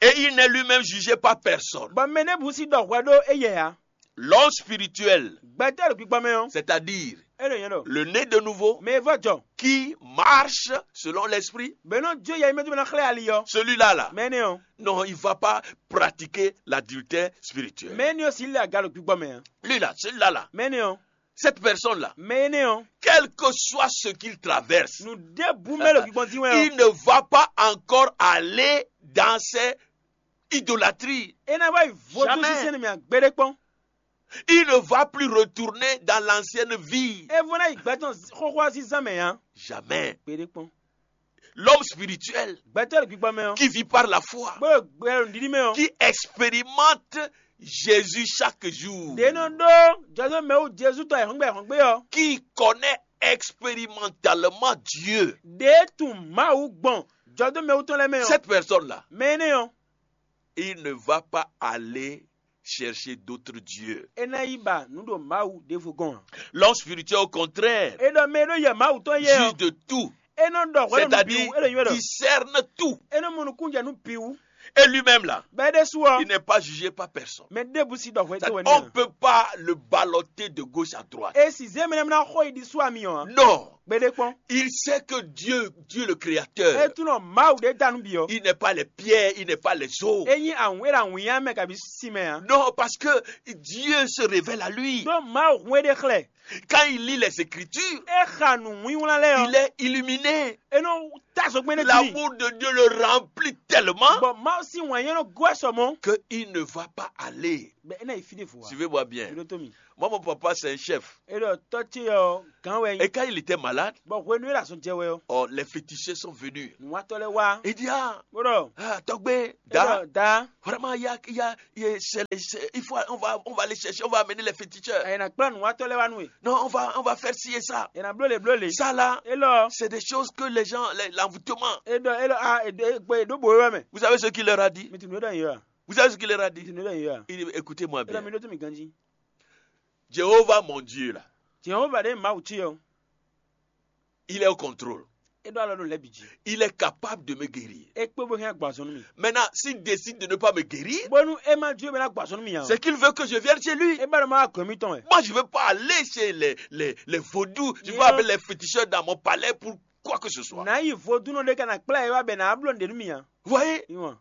Et il n'est lui-même jugé par personne. Bɔ mɛ nɛ́ bǔ sí ɖɔ hwɛ ɖó éyɛ ǎ. L'homme spirituel, Gbɛtɔ́ ɖo gbígbɔ mɛ ɔ́. C'est-à-dire, É ɖo nyɛ ɖɔ. Le né de nouveau, Mɛ e vɔ́ jɔ. Qui marche selon l'esprit, Bɛ nɔ jó yɛ mɛ tó bɛ nɔ xlɛ́ ali ɔ́. Celui-là, là, Mɛ énɛ́ ɔ́. Non, il ne va pas pratiquer l'adultère spirituel. Mɛ énɛ́ ɔ́ sì lɛ aga ɖo gbígbɔ mɛ ǎ. Lui-là, celui-là, là, Mɛ énɛ́ ɔ́. Cette personne-là, Mɛ énɛ́ ɔ́. Quel que soit ce qu'il traverse, Nǔ ɖěbǔ mɛ ɖo gbígbɔn dín wɛ ɔ́. Il ne va pas encore aller dans ses idolâtries. É ná wá yi vodún Jamais. Sísɛ́n mɛ ǎ gbeɖé kpɔ́n. Il ne va plus retourner dans l'ancienne vie. É vɔ ná yi gbɛtɔn xóxó ɔ́ sín zán mɛ ǎ. Jamais. Gbeɖé kpɔ́n. L'homme spirituel, Gbɛtɔ́ ɖo gbígbɔ mɛ ɔ́. Qui vit par la foi, Bó ɖo gbɛ ɖo nǔɖiɖi mɛ ɔ́. Qui expérimente Jésus chaque jour. Ɖě nɔ ɖó jɔzɔ́ mɛ wú Jezu tɔn ayǐhɔ́ngbe ayǐhɔ́ngbe ɔ́. Qui connaît expérimentalement Dieu. Ɖě tunwun Mawu gbɔn jɔdó mɛ wú tɔn lɛ́ɛ mɛ ɔ́. Cette personne-là, Mɛ énɛ́ ɔ́. Il ne va pas aller chercher d'autres dieux. É ná yi ba nǔ ɖo Mawu ɖěvo gɔ́n ǎ. L'homme spirituel, au contraire, É ɖɔ mɛ e ɖó yɛ Mawu tɔn yɛ ɔ́. Juge de tout. É nɔ ɖɔ hwɛ nú bǐ wú, é ɖo nywɛ́ ɖɔ. C'est-à-dire, discerne tout. É nɔ mɔ nukúnjɛ nú bǐ wú. Et lui-même là, bɔ é ɖésú ɔ il n'est pas jugé par personne. Mɛ ɖěbǔ si ɖɔ hwɛ dó wɛ On ne n'i peut pas le balloter de gauche à droite. E si zé mɛ ná xɔ yi ɖi sú ami ɔ Non, gbeɖé kpɔn. Il sait que Dieu, Dieu le É Créateur, tunɔ Mawu ɖé da nú bǐ ɔ. Il n'est pas les pierres, il n'est pas les eaux. É nyí awǔn é ɖo awǐnnya mɛ kabi sín mɛ ǎ. Non, parce que Dieu se révèle à lui. Ɖó Mawu hun é ɖe xlɛ́. Quand il lit les Écritures, É xa nǔwínwlán lɛ́ɛ il ɔ́. Est illuminé. É nɔ tá zɔgbɛ́n ɖé jí. L'amour de Dieu le remplit tellement Bɔ Mawu sín wǎn nyɛ nɔ gɔ́ ɛ sɔ mɔ̌. Qu'il ne va pas aller. Bɛ é ná yi fí ɖěvo ǎ. Suivez-moi bien. Mi ɖó tó mi. Moi, mon papa, c'est un chef. É ɖɔ tɔ́ ce ɔ́ gǎn wɛ Et nyi. Quand il était malade, Bɔ hwenu é ɖo azɔn jɛ wɛ ɔ́. Oh, les féticheurs sont venus. Nǔwatɔ́ lɛ́ɛ wá. Il dit, ah, Bó ɖɔ. Ah, Togbe, É ɖɔ Da, da. Vraiment, il y a, il y a, il y a- c'est les- c'est- il faut, on, va, on va aller chercher, on va amener les féticheurs. È nà kplá nǔwatɔ́ lɛ́ɛ wá nú we. Non, on va, on va faire ci et ça. È nà bló lě bló lě. Ça là, É lɔ. C'est des choses que les gens, les- l'envoûtement. É ɖɔ é lɔ a è ɖo é gbɔ è ɖó bo é wɛ mɛ. Vous savez ce qu'il leur a dit? Mi tunú é ɖɔ yě wa. Vous savez ce qu'il leur a Mi dit? tunú é ɖɔ yěwa. Il dit, écoutez-moi É ɖɔ bien. Mi ɖó tó mi ganjí. Jéhovah, mon Dieu, là, Jehova ɖé Mawu cí ɔ́. Il est au contrôle. É ɖó alɔ ɖo lɛ́ bǐ jí. Il est capable de me guérir. É kpé bó hɛn gbɔ azɔn nú mi. Maintenant, s'il décide de ne pas me guérir, Bónú é má jó é má ná gbɔ azɔn nú mi ǎ. C'est qu'il veut que je vienne chez lui. É bá ɖɔ má wá gɔ̌n mitɔn wɛ. Moi, je ne veux pas aller chez les, les, les vaudous. Je ne veux Il pas a- appeler les féticheurs dans mon palais pour quoi que ce soit. Nǎ yi vodúnɔ ɖé ká ná kplá ɛ wá bɛ nǎ bló nǔɖé nú mi ǎ. Vous voyez, Ìwọ̀n.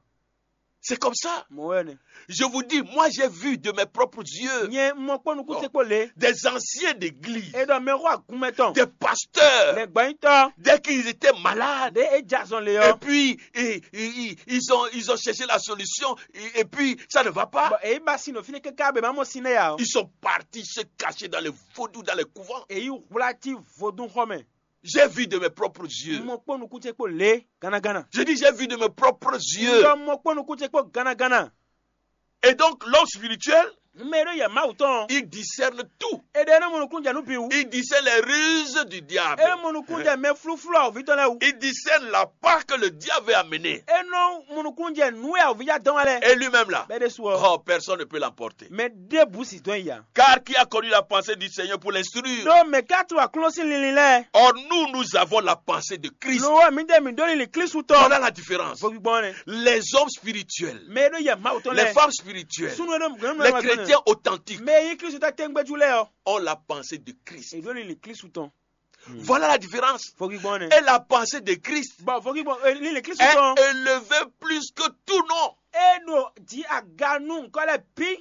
C'est comme ça. Mɔ̌ wɛ nɛ. Je vous dis, moi, j'ai vu de mes propres yeux Nyɛ mɔ kpó nukún ce kpó lě. Des anciens d'église, É ɖɔ mɛ xó agun mɛ tɔn. Des pasteurs, Lɛ gbɔnyítɔ́. Dès qu'ils étaient malades, Ɖé é jɛ azɔn lě et ɔ́. Puis ils, ils- ils- ils ont, ils ont cherché la solution, et, et puis ça ne va pas. Bɔ èyí ba sin ɖo fínɛ́ káká bɛ má mɔ sin nɛ́ ya ɔ́. Ils sont partis se cacher dans les vaudous, dans les couvents. Èyí hwlá cí vodún xɔ mɛ. J'ai vu de mes propres yeux. Mɔ kpó nukún ce kpó lě gánagánna. Je dis, j'ai vu de mes propres yeux. Yɔ mɔ kpó nukún ce kpó gánagánna. Et donc, l'homme spirituel, Mɛ e ɖó yɛ Mawu tɔn. Il discerne tout. E ɖe nɔ mɔ nukún jɛ nú bǐ wú. Il discerne les ruses du diable. E mɔ nukún jɛ mɛ flúflú awɔví tɔn lɛ́ɛ wú. Il discerne la part que le diable veut amener. E nɔ mɔ nukún jɛ nǔ e awɔví já dɔn wá lɛ. Et lui-même là, Bɛɛ ɖe su ɔ. Oh, personne ne peut l'emporter. Mɛ ɖěbǔ sì dɔn ya. Car qui a connu la pensée du Seigneur pour l'instruire? Ɖó mɛ ká tu aklúnɔ sín linlin lɛ́ɛ. Or, nous, nous avons la pensée de Christ. Lo wɛ mi ɖe mi ɖó lili Klísu tɔn. Voilà la différence. Vɔgbɔn ne. Les hommes spirituels, Mɛ e ɖó yɛ Mawu tɔn les lɛ. Femmes spirituelles, Sunu e ɖo gɔn Les chrétiens authentiques Mɛ yi Klísu tɔn tɛngbɛju lɛ ɔ. Ont la pensée de Christ. E ɖó lili Klísu tɔn. Voilà la différence. Vɔgbɔn ne. Et la pensée de Christ Bɔn vɔgbɔn lili Klísu est tɔn. Élevée plus que tout nom. E ɖo ji aga nú nkɔ lɛ bi.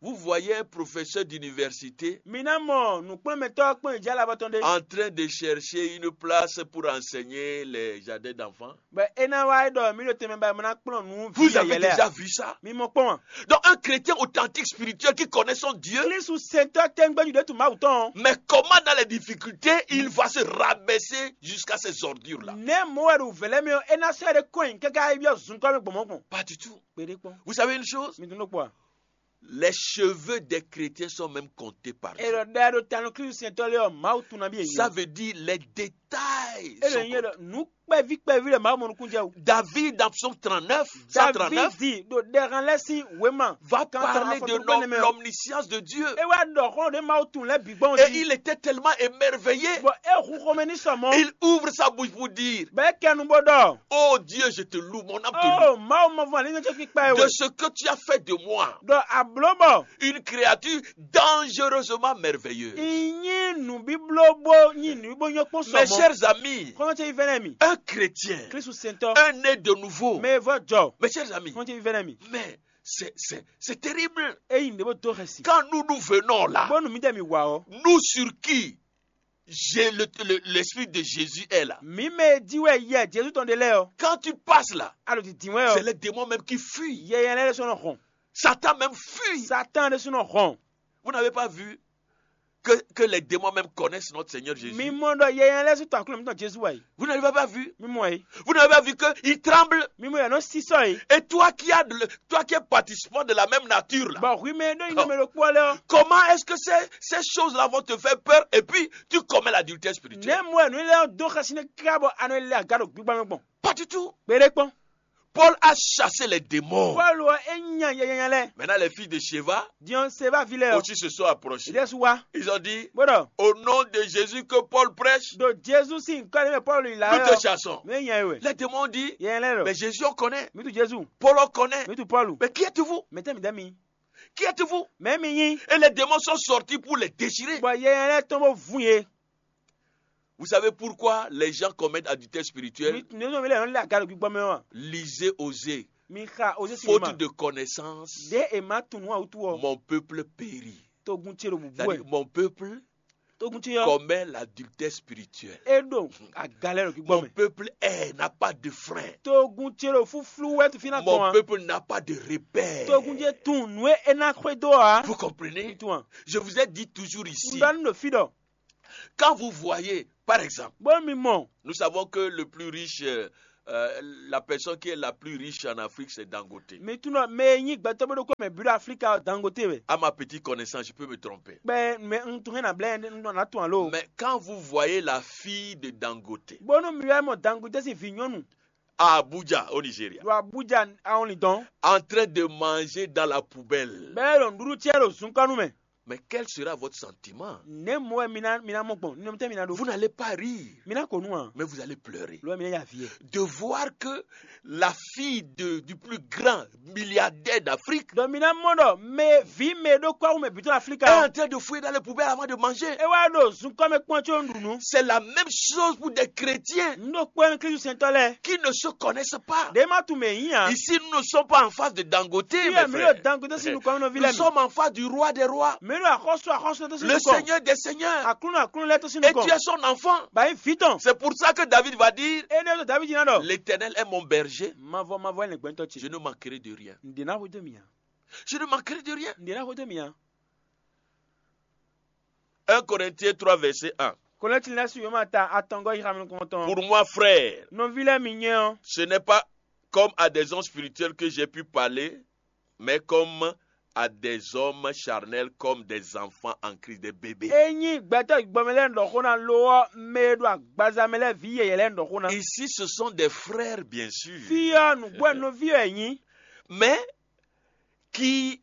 Vous voyez un professeur d'université Mi ná mɔ nǔkplɔ́nmɛtɔ́ kpɔn ìjà labɔ tɔn ɖé. En train de chercher une place pour enseigner les jardins d'enfants. Bɛ e ná wá ɖɔ mi ɖo tɛnmɛ ba mi ná kplɔn nǔ Vous vi avez yɛyɛ déjà lɛ. vu ça? Mi mɔ kpɔn. Donc un chrétien authentique spirituel qui connaît son Dieu, Klísu sɛntɔ́ tɛngbɛju ɖé tu Mawu tɔn. Mais comment dans les difficultés il va se rabaisser jusqu'à ces ordures-là? Nɛ mɔ wɛ ɖo vɛlɛ mi ɔ e ná sɛ ɖe kɔn káká e biɔ zun kɔ mi gbɔmɔ gbɔn. Pas du tout. Kpeɖe kpɔn. Vous savez une chose? Mi dun ɖo kpɔa. Les cheveux des chrétiens sont même comptés par E Dieu. ɖɔ ɖɛ ɖo tanu Klísu sɛntɔ́ lé ɔ Mawu tun na bi Ça yɛyɛ. Veut dire les détails. E Sont ɖɔ nyɛ comptés. Ɖɔ nukpɛvi kpɛvi ɖe Mawu mɔ nukun jɛ o. David dans Psaume trente-neuf, cent trente-neuf, Davidi ɖo ɖɛhan lɛ sín wema. Va Kan parler afɔ de gbɛgbɛ l'om- nɛ mɛ o. L'omniscience de Dieu. E wá ɖɔ xɔ ɖe Mawu tun lɛ bi gbɔn Et ji. Il était tellement émerveillé. Bɔn e hu xɔmɛ ní sɔmɔ. Il ouvre sa bouche pour dire, Bɛ e kɛnu bɔ ɖɔ. Oh Dieu, je te loue, mon âme te loue. O Mawu mɔ vɔ alínú tɛ kpikpa e De wɛ. Ce que tu as fait de moi, Ɖɔ ablo bɔ. Une créature dangereusement merveilleuse. Inyi nubiblo bo nyi nubibo nyɔ kpɔn Mes sɔmɔ. Chers amis, Kɔmɔ tɛ ifɛnɛ mi. Un chrétien, Kristu sɛntɔ. Un né de nouveau, Mɛ vɔ jɔ. Mes chers amis, Kɔmɔ tɛ ifɛnɛ mi. Mais c'est, c'est, c'est terrible. Eyi ne bo do xɛsi. Quand nous nous venons là, Bɔnu mi tɛ mi wa ɔ. Nous sur qui j'ai le- le- l'esprit de Jésus est là. Mi mɛ di wɛ yɛ Jesu tɔn de lɛ ɔ. Quand tu passes là, Alo di di wɛ c'est ɔ. Les démons même qui fuient. Yɛ yɛ lɛ sɔnɔ hɔn. Satan même fuit. Satan de sɔnɔ hɔn. Vous n'avez pas vu que, que les démons même connaissent notre Seigneur Jésus? Mi mɔ dɔ yɛ yɛ lɛ sɔnɔ aklo mi tɔn Jesu wa yi. Vous n'avez pas vu? Mi mɔ yi. Vous n'avez pas vu qu'il tremble? Mi mɔ yɛ nɔ sisɔ yi. Et toi qui as de le- toi qui es participant de la même nature là, Bɔn hui mɛ ɖo yin mɛ ɖo kpɔ lɛ ɔ. Comment est-ce que ces, ces choses-là vont te faire peur et puis tu commets l'adultère spirituel? Ne mɔ ɛ nu lɛ do xɛsi ne kra bɔ anɔ lɛ aga ɖo gbigba mɛ gbɔn. Pas du tout. Kpeɖe kpɔn. Paul a chassé les démons. Pɔlu ɔ é nya yɛyɛnya lɛ. Maintenant, les fils de Sheva Diɔn seva vi lɛ ɔ. aussi se sont approchés. Ìdí ɛsù wa. Ils ont dit, Bó ɖɔ. Au nom de Jésus que Paul prêche, Ɖo Jesu sín nǔkɔ ɖé mɛ Pɔlu yi la nous ɛ te ɔ. chassons. Mɛ nya ɛ wɛ. Les démons ont dit, Yɛyɛnya lɛ Mais ɖɔ. Jésus, on connaît. Mi tu Jesu. Paul, on connaît. Mi tu Pɔlu. Mais qui êtes-vous? Mɛ tɛ mi dɛ mi. Qui êtes-vous? Mɛ mi nyi. Et les démons sont sortis pour les déchirer. Bɔ yɛyɛnya lɛ tɔn bó vun ye. Vous savez pourquoi les gens commettent adultère spirituel? Mi nínú mi lɛ yɔn lé aga ɖo gbígbɔ mɛ wa. Lisez Osée. Mi xa Osée si Faute ma. De connaissance, Ɖe e ma tunú awutu ɔ. Mon peuple périt. Togun ce ɖo bubu C'est-à-dire, ɛ. mon peuple Togun ce yɔ. Commet l'adultère spirituel. E ɖo aga lɛ ɖo gbígbɔ Mon mɛ. Peuple est, n'a pas de frein. Togun ce ɖo fúflú wɛ tu fi na Mon gbɔn wa. Peuple n'a pas de repère. Togun ce tun nǔ e e na xwedó a. Vous comprenez? Tun a. Je vous ai dit toujours ici. N ɖɔ nu ɖo fi ɖɔ. Quand vous voyez, par exemple, Bó mi mɔ. Nous savons que le plus riche, euh, euh, la personne qui est la plus riche en Afrique, c'est Dangote. Mi tun ɖɔ mɛ e nyi gbɛtɔ́ bó ɖokpó mɛ bǐ ɖo Aflika ɔ Dangote wɛ. À ma petite connaissance, je peux me tromper. Kpɛ mɛ n tun hɛn na blɛ n na tun alo. Mais quand vous voyez la fille de Dangote Bónú mi wɛ mɔ Dangote sín vǐ nyɔ́nu à Abuja, au Nigeria, ɖo Abuja awɔnlin dɔn. En train de manger dans la poubelle, Bɛɛ ɖo nǔɖuɖu cɛ ɖo zunkɔnu mɛ. Mais quel sera votre sentiment? Nɛ̌ mɔ wɛ mi ná mi ná mɔ gbɔn nínú tɛ mi ná ɖó. Vous n'allez pas rire, Mi ná ko nu a. Mais vous allez pleurer. Lo mi ná ya vǐ yɛ. De voir que la fille de- du plus grand milliardaire d'Afrique Dɔ mi ná mɔ ɖɔ mɛ vǐ mɛ ɖó kɔ awu mɛ bǐ tɔn est Aflika. En train de fouiller dans les poubelles avant de manger. E wá ɖo zunkɔ mɛ kpɔn tso ɖu nu. C'est la même chose pour des chrétiens N ɖo kpɔ́ ɛn Kristu sɛntɔ lɛ. Qui ne se connaissent pas. Ɖe ma tu mɛ yín a. Ici, nous ne sommes pas en face de Dangote, Fi mes yɛ mi ɖo frères. Dangote sín nukɔn nɔ vi Nous lɛ mi. Sommes en face du roi des rois, Mi ɖo axɔsu axɔsu lɛ tɔn sín le nukɔn. Seigneur des seigneurs. Aklúnɔ aklúnɔ lɛ tɔn sín Et tu nukɔn. Es son enfant. Ba yín vǐ tɔn. C'est pour ça que David va dire, Énɛ́ ɖo David ná ɖɔ. L'Éternel est mon berger, Mavɔ mavɔ ɛnɛ gbɛtɔ je ce. Ne manquerai de rien. N ɖe ná xwedó mi a. Je ne manquerai de rien. N ɖe ná xwedó mi a. Un Corinthiens trois, verset un. Kɔlɛtsi lɛ su yoma ta atɔngɔ yi xamɛ kɔntɔn. Pour moi, frère, Nɔvi lɛ mi nyɛ ɔ. Ce n'est pas comme à des hommes spirituels que j'ai pu parler, mais comme à des hommes charnels, comme des enfants en Christ, des bébés. E nyi gbɛtɔ gbɔmɛ lɛ ɖɔ xó na lo ɔ mɛ e ɖo agbaza mɛ lɛ vi yɛyɛ lɛ ɖɔ xó na. Ici, ce sont des frères, bien sûr. Fi ɔ nǔgbó nɔvi ɔ nyi. Mais qui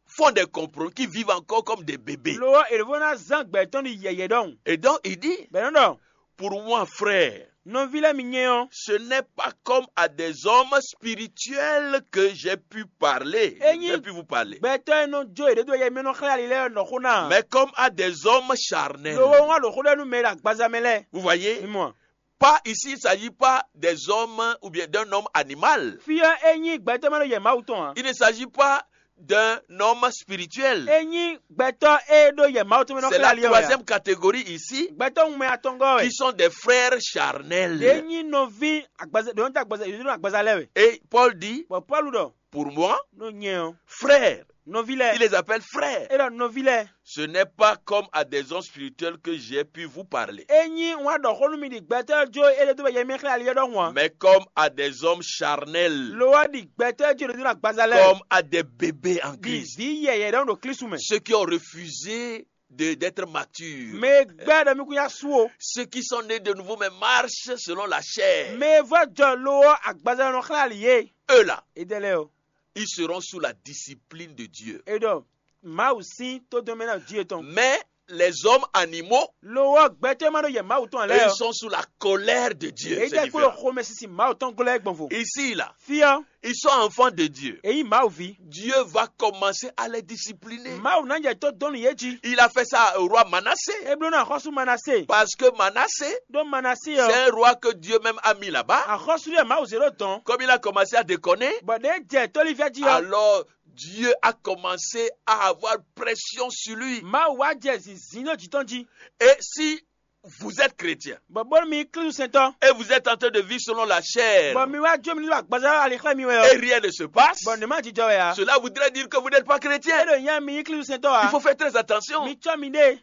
font des compromis, qui vivent encore comme des bébés. Lo ɔ èrè vo na zan gbɛtɔ ni yɛyɛ ɖɔhun. Et donc, il dit, Bɛnɛ ɖɔ, Pour moi, frère, Nɔvi lɛ́ɛ mi nyɛ ɔ́, ce n'est pas comme à des hommes spirituels que j'ai pu parler. Enyi- J'ai pu vous parler. Gbɛtɔ́ e nɔ jó yěɖée dó yɛ mi nɔ xlɛ́ ali lɛ́ɛ nɔ xó ná. Mais comme à des hommes charnels. Lo wɛ wá ɖo xó ɖɔ nú mɛ e ɖo agbaza mɛ lɛ́ɛ. Vous voyez? Mi mɔ. Pas ici, il ne s'agit pas des hommes ou bien d'un homme animal. Fí ɔ́, é nyí gbɛtɔ́ mɛ ɖo yɛ Mawu tɔn ǎ. Il ne s'agit pas d'un homme spirituel. É nyí gbɛtɔ́ e ɖo yɛ Mawu tɔn mɛ nɔ C'est xlɛ́ la ali ɔ́ wɛ ǎ. Troisième catégorie ici Gbɛtɔ́ ŋun mɛ atɔngɔ́ wɛ. Qui sont des frères charnels. Ɖě nyí nɔví agbaza ɖě nyí agbaza ɖě nyí agbaza lɛ́ɛ wɛ. Et Paul dit, Bɔ Pɔ́lu ɖɔ, pour moi, ɖó nyɛ ɔ́, frère, nɔví il lɛ́ɛ, les appelle frères. é ɖɔ nɔví lɛ́ɛ. Ce n'est pas comme à des hommes spirituels que j'ai pu vous parler. É nyí wá ɖɔ xó nú mi ɖi gbɛtɔ́ jó é ɖe dó bɔ yɛ mi xlɛ́ ali ɔ́ ɖɔhun ǎ. Mais comme à des hommes charnels, Lo wá ɖi gbɛtɔ́ jó ɖe dó agbaza lɛ́ɛ. Comme à des bébés en Ɖi Christ. Vǐ yɛyɛ ɖɔhun ɖo Klísu mɛ. Ceux qui ont refusé de- d'être matures. Mɛ gbɛ́ ɖɔ mi kún yá sú o. Ceux qui sont nés de nouveau mais marchent selon la chair. Mɛ vɔ jɔ lo ɔ́ agbaza nɔ xlɛ́ ali yé. Eux là, É dɛ lɛ́ɛ o. Ils seront sous la discipline de Dieu. É ɖɔ Mawu sín tódɔnmɛ ná jí etɔn. Mais les hommes animaux, Lo ɔ́ gbɛtɔ́ ma ɖo yɛ Mawu tɔn eux, lɛ́ɛ ils ɔ́. sont sous la colère de Dieu. Èyí C'est tẹ́ kó lɔ différent. xomɛ sisi Mawu tɔn glɔ́ ɛ gbɔn vo. Ici, là, Fí ɔ́, ils sont enfants de Dieu. èyí Mawu ví. Dieu va commencer à les discipliner. Mawu ná jɛ tó dɔnnu yé jí. Il a fait ça au roi Manassé. É bló ná xɔ́sú Manasé. Parce que Manassé, Ɖó Manasé c'est ɔ́. Un roi que Dieu même a mis là-bas. Axɔ́sú ɖé Mawu zě ɖó dɔn. Comme il a commencé à déconner, Bɔ ɖě jɛ tólífíà jí ɔ́. Alors Dieu a commencé à avoir pression sur lui. Mawu wá jɛ zǐnzín ɖó jǐ tɔn jí. Et si vous êtes chrétien Bɔ bónú mi Klísu sɛntɔ́. Et vous êtes en train de vivre selon la chair, Bɔ mi wá jó mi ɖo agbaza ali xlɛ́ mi wɛ et ɔ́. Rien ne se passe, Bɔ nǔ ma jijɔ wɛ ǎ. Cela voudrait dire que vous n'êtes pas É chrétien. ɖo nyɛ mi nyí Klísu sɛntɔ́ Il ǎ. Faut faire très attention. Mi cɔ́ mi ɖe.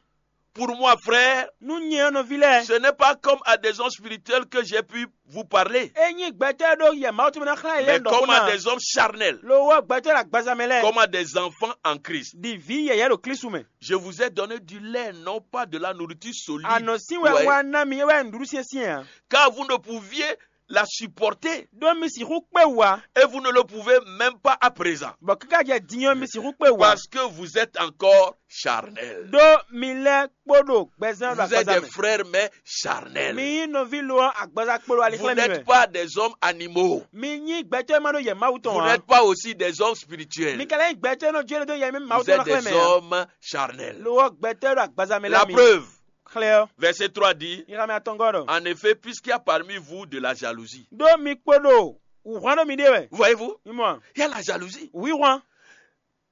Pour moi, frère, Nú nyɛ ɔ́ nɔví lɛ́ɛ. Ce n'est pas comme à des hommes spirituels que j'ai pu vous parler, É nyí gbɛtɔ́ ɖó yɛ Mawu tɔn mɛ ná xlɛ́ mais yɛ ɖɔ comme xó à ná. Des hommes charnels, Lo wɔ gbɛtɔ́ ɖo agbaza mɛ lɛ́ɛ. Comme à des enfants en Christ. Ɖi Vǐ yɛyɛ ɖo Klísu mɛ. Je vous ai donné du lait, non pas de la nourriture solide. Anɔ sín Ouais. wɛ wá ná mi é wɛ nǔɖuɖu syɛ́nsyɛ́n ǎ. Car vous ne pouviez la supporter. Ɖó mi sixú kpé wú ǎ. Et vous ne le pouvez même pas à présent. Bɔ kíká jɛ din ɔ́, mi sixú kpé wú ǎ. Parce que vous êtes encore charnel. Ɖó mi lɛ́ kpó ɖo gbɛzán ɖo Vous êtes agbaza des mɛ. Frères, mais charnels. Mi nyí nɔví lo ɔ́ agbaza kpó ɖo ali Vous xlɛ́ mi n'êtes wɛ. Pas des hommes animaux. Mi nyí gbɛtɔ́ e ma ɖó yɛ Mawu tɔn Vous ǎ. N'êtes pas aussi des hommes spirituels. Mi ka lɛ́ nyí gbɛtɔ́ e nɔ jó ɖo yɛ mɛ Mawu Vous tɔn êtes ná xlɛ́ des mɛ ǎ. Hommes charnels. Lo ɔ́ gbɛtɔ́ e ɖo agbaza mɛ La lɛ́ɛ mi. Preuve, Xlɛ́ ɔ́, verset trois dit, Ixamɛ atɔngɔ́ ɖɔ. En effet, puisqu'il y a parmi vous de la jalousie. Ɖó mi kpo ɖo wǔhwan ɖó miɖée wɛ. Voyez-vous, Mi mɔ a? Il y a la jalousie Wǐhwan,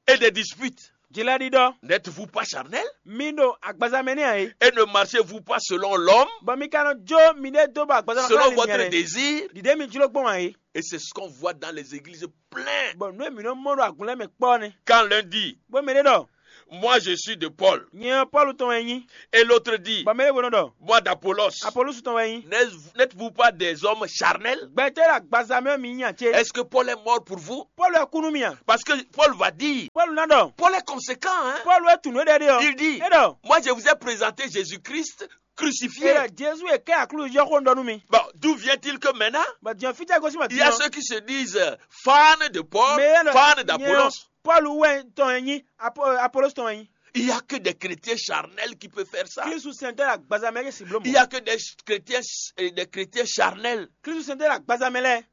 et des disputes. Jlɛɖiɖɔ. N'êtes-vous pas charnel? Mi ɖo agbaza mɛ nɛ́ ǎ é. Et ne marchez-vous pas selon l'homme, Bɔ mi ka nɔ jó miɖée dó bɔ agbaza nɔ selon xlɛ́ mi votre nyɛ lɛ́ɛ. Désir? Ɖiɖě mi jló gbɔn ǎ é. Et c'est ce qu'on voit dans les églises pleines. Bɔ nǔ e mǐ nɔ mɔ ɖo agun lɛ́ɛ mɛ kpɔ́ ɔ́ nɛ́. Quand l'un dit, Bó mɛ ɖé ɖɔ, moi je suis de Paul, Nyɛ ɔ́ Pɔ́lu tɔn wɛ nyí. Et l'autre dit, Bɔ mɛ ɖé hwenu ɖɔ, moi d'Apollos. Apolósu tɔn wɛ nyí. N'êtes-, n'êtes-vous pas des hommes charnels? Gbɛtɔ́ e ɖo agbaza mɛ ɔ́ mi nyí a cé? Est-ce que Paul est mort pour vous? Pɔ́lu wɛ kú nú mi a? Parce que Paul va dire, Pɔ́lu ná ɖɔ, Paul est conséquent, hein? Pɔ́lu wɛ tunwun éɖɛɖé ɔ́. Il dit, É ɖɔ, moi je vous ai présenté Jésus-Christ é crucifié. Ɖɔ Jezu e kɛ aklúzu yɔ́xó un ɖɔ nú mi. Bon, d'où vient-il que maintenant, Bɔ din ɔ́ fítɛ́ gosín bɔ il y a ceux qui se disent, euh, fans de Paul, Mɛ e ɖɔ fans nyɛ d'Apollos. Pɔ́lu wɛ tɔn e nyí, Apo- Apolósu tɔn e nyí. Il y a que des chrétiens charnels qui peuvent faire ça. Klísu sɛntɔ́ ɖo agbaza mɛ é si bló Il y mɔ̌. A que des chrétiens, euh, des chrétiens charnels Klísu sɛntɔ́ ɖo agbaza mɛ lɛ́ɛ.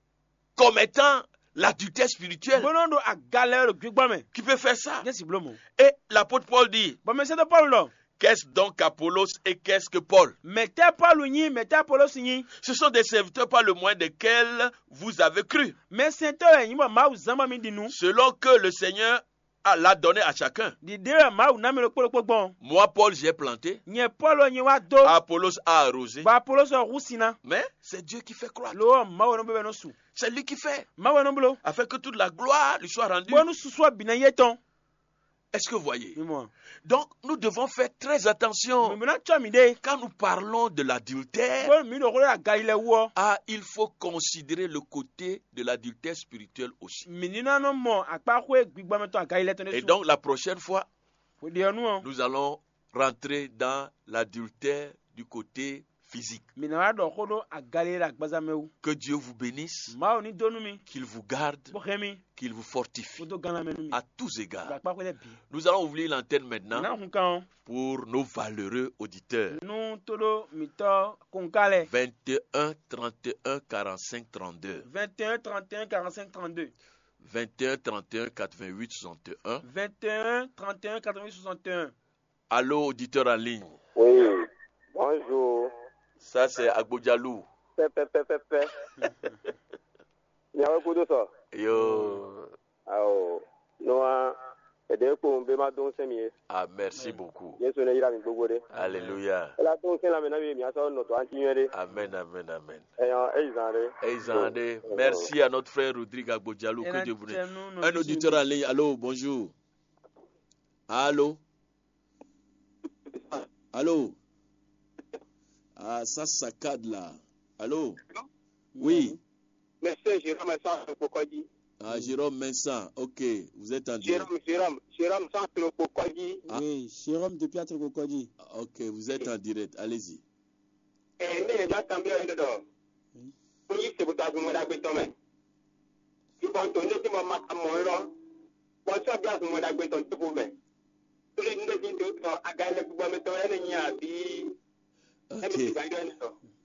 Commettant l'adultère spirituel Bó nɔ ɖo aga lɛ́ɛ ɖo gbígbɔ́ mɛ. Qui peut faire ça? É si bló mɔ̌. Et l'apôtre Paul dit, Bɔ mɛsɛntɔ́ Pɔ́lu ɖɔ, qu'est-ce donc Apollos et qu'est-ce que Paul? Mɛ̌tɛ́ Pɔ́lu nyí, mɛ̌tɛ́ Apolósu nyí? Ce sont des serviteurs par le moyen desquels vous avez cru. Mɛsɛntɔ́ wɛ nyí bɔ Mawu zán bɔ mi ɖi nǔ. Selon que le Seigneur a- l'a donné à chacun. Ɖiɖe wɛ Mawu ná mɛ ɖokpó ɖokpó gbɔn. Moi, Paul, j'ai planté. Nyɛ Pɔ́lu ɔ́ nyɛ wá dó. Apollos a arrosé. Bɔ Apolósu ɔ́ hú sin ná. Mais c'est Dieu qui fait croître. Lo ɔ́ Mawu nɔ bɛbɛ nɔ su. C'est lui qui fait. Mawu nɔ bló. Afin que toute la gloire lui soit rendue. Bónú susu ɔ́ bǐ ná yé tɔn. Est-ce que vous voyez? Mi mɔ. Donc, nous devons faire très attention. Mi bó ná cɔ mi ɖe. Quand nous parlons de l'adultère, Bónú mi ɖo xó ɖo agali lɛ wú ɔ́. Ah, il faut considérer le côté de l'adultère spirituel aussi. Mi ní ná nɔ mɔ akpáxwé gbigbɔmɛ tɔn agali lɛ tɔn ɖé Et su. Donc, la prochaine fois, Hweɖe ɔ́ nu ɔ́, nous allons rentrer dans l'adultère du côté physique. Mi ná wá ɖɔ xó ɖó agali e ɖo agbaza mɛ wú. Que Dieu vous bénisse, Mawu ní dó nú mi, qu'il vous garde, bó hɛn mi, qu'il vous fortifie bó dó gán lanmɛ nú mi. À tous égards. Ɖo akpáxwé lɛ́ɛ bǐ. Nous allons ouvrir l'antenne maintenant. Ná hun kan ɔ́. Pour nos valeureux auditeurs. Nú tóɖó mǐtɔn kɔnká lɛ́ɛ. Vingt et un trente et un quarante-cinq trente-deux. Vingt et un trente et un quarante-cinq trente-deux. Vingt et un trente et un quatre-vingt-huit soixante et un. Vingt et un trente et un quatre-vingt-huit soixante et un. Allô, auditeur en ligne. Oui. Bonjour. Ça, c'est Agbodjalou. Pɛ, pɛ, pɛ, pɛ, pɛ. Miawe kudo sɔ. Yo. Awo. Noa. Ede kpo be ma don sɛn mi ye. Ah, merci beaucoup. Yesu ne yra mi gbogbo de. Alléluia. Ela don sɛn la me na mi mi asɔ nɔ to anti nyuɛ de. Amen, amen, amen. Eyan, eyi zan de. Eyi zan de. Merci à notre frère Rodrigue Agbodjalou. Que Dieu vous bénisse. Un auditeur en ligne. Allô, bonjour. Allô. Allô. Ah, ça saccade là. Allô. Oui. Monsieur Jérôme Vincent Pokodji. Ah, Jérôme Vincent, ok, vous êtes en direct. Jérôme, Jérôme, Jérôme Vincent Pokodji. Ah. Oui, Jérôme depuis Atrokokodji. Ok, vous êtes en direct, allez-y. Ɛ ne yɛ dɔ atɔn bi ɔyɔ dɔ. Ko yi se butɔ agun mɔ dagbe tɔn mɛ. Yubɔ to ne ti mɔ ma ka mɔ lɔ. Bɔ sɔ bi agun mɔ dagbe tɔn to ko mɛ. Tole nu ɖe fi to tɔ aga lɛ gbogbo mɛ tɔn ɛnɛ nyi abi. Ok.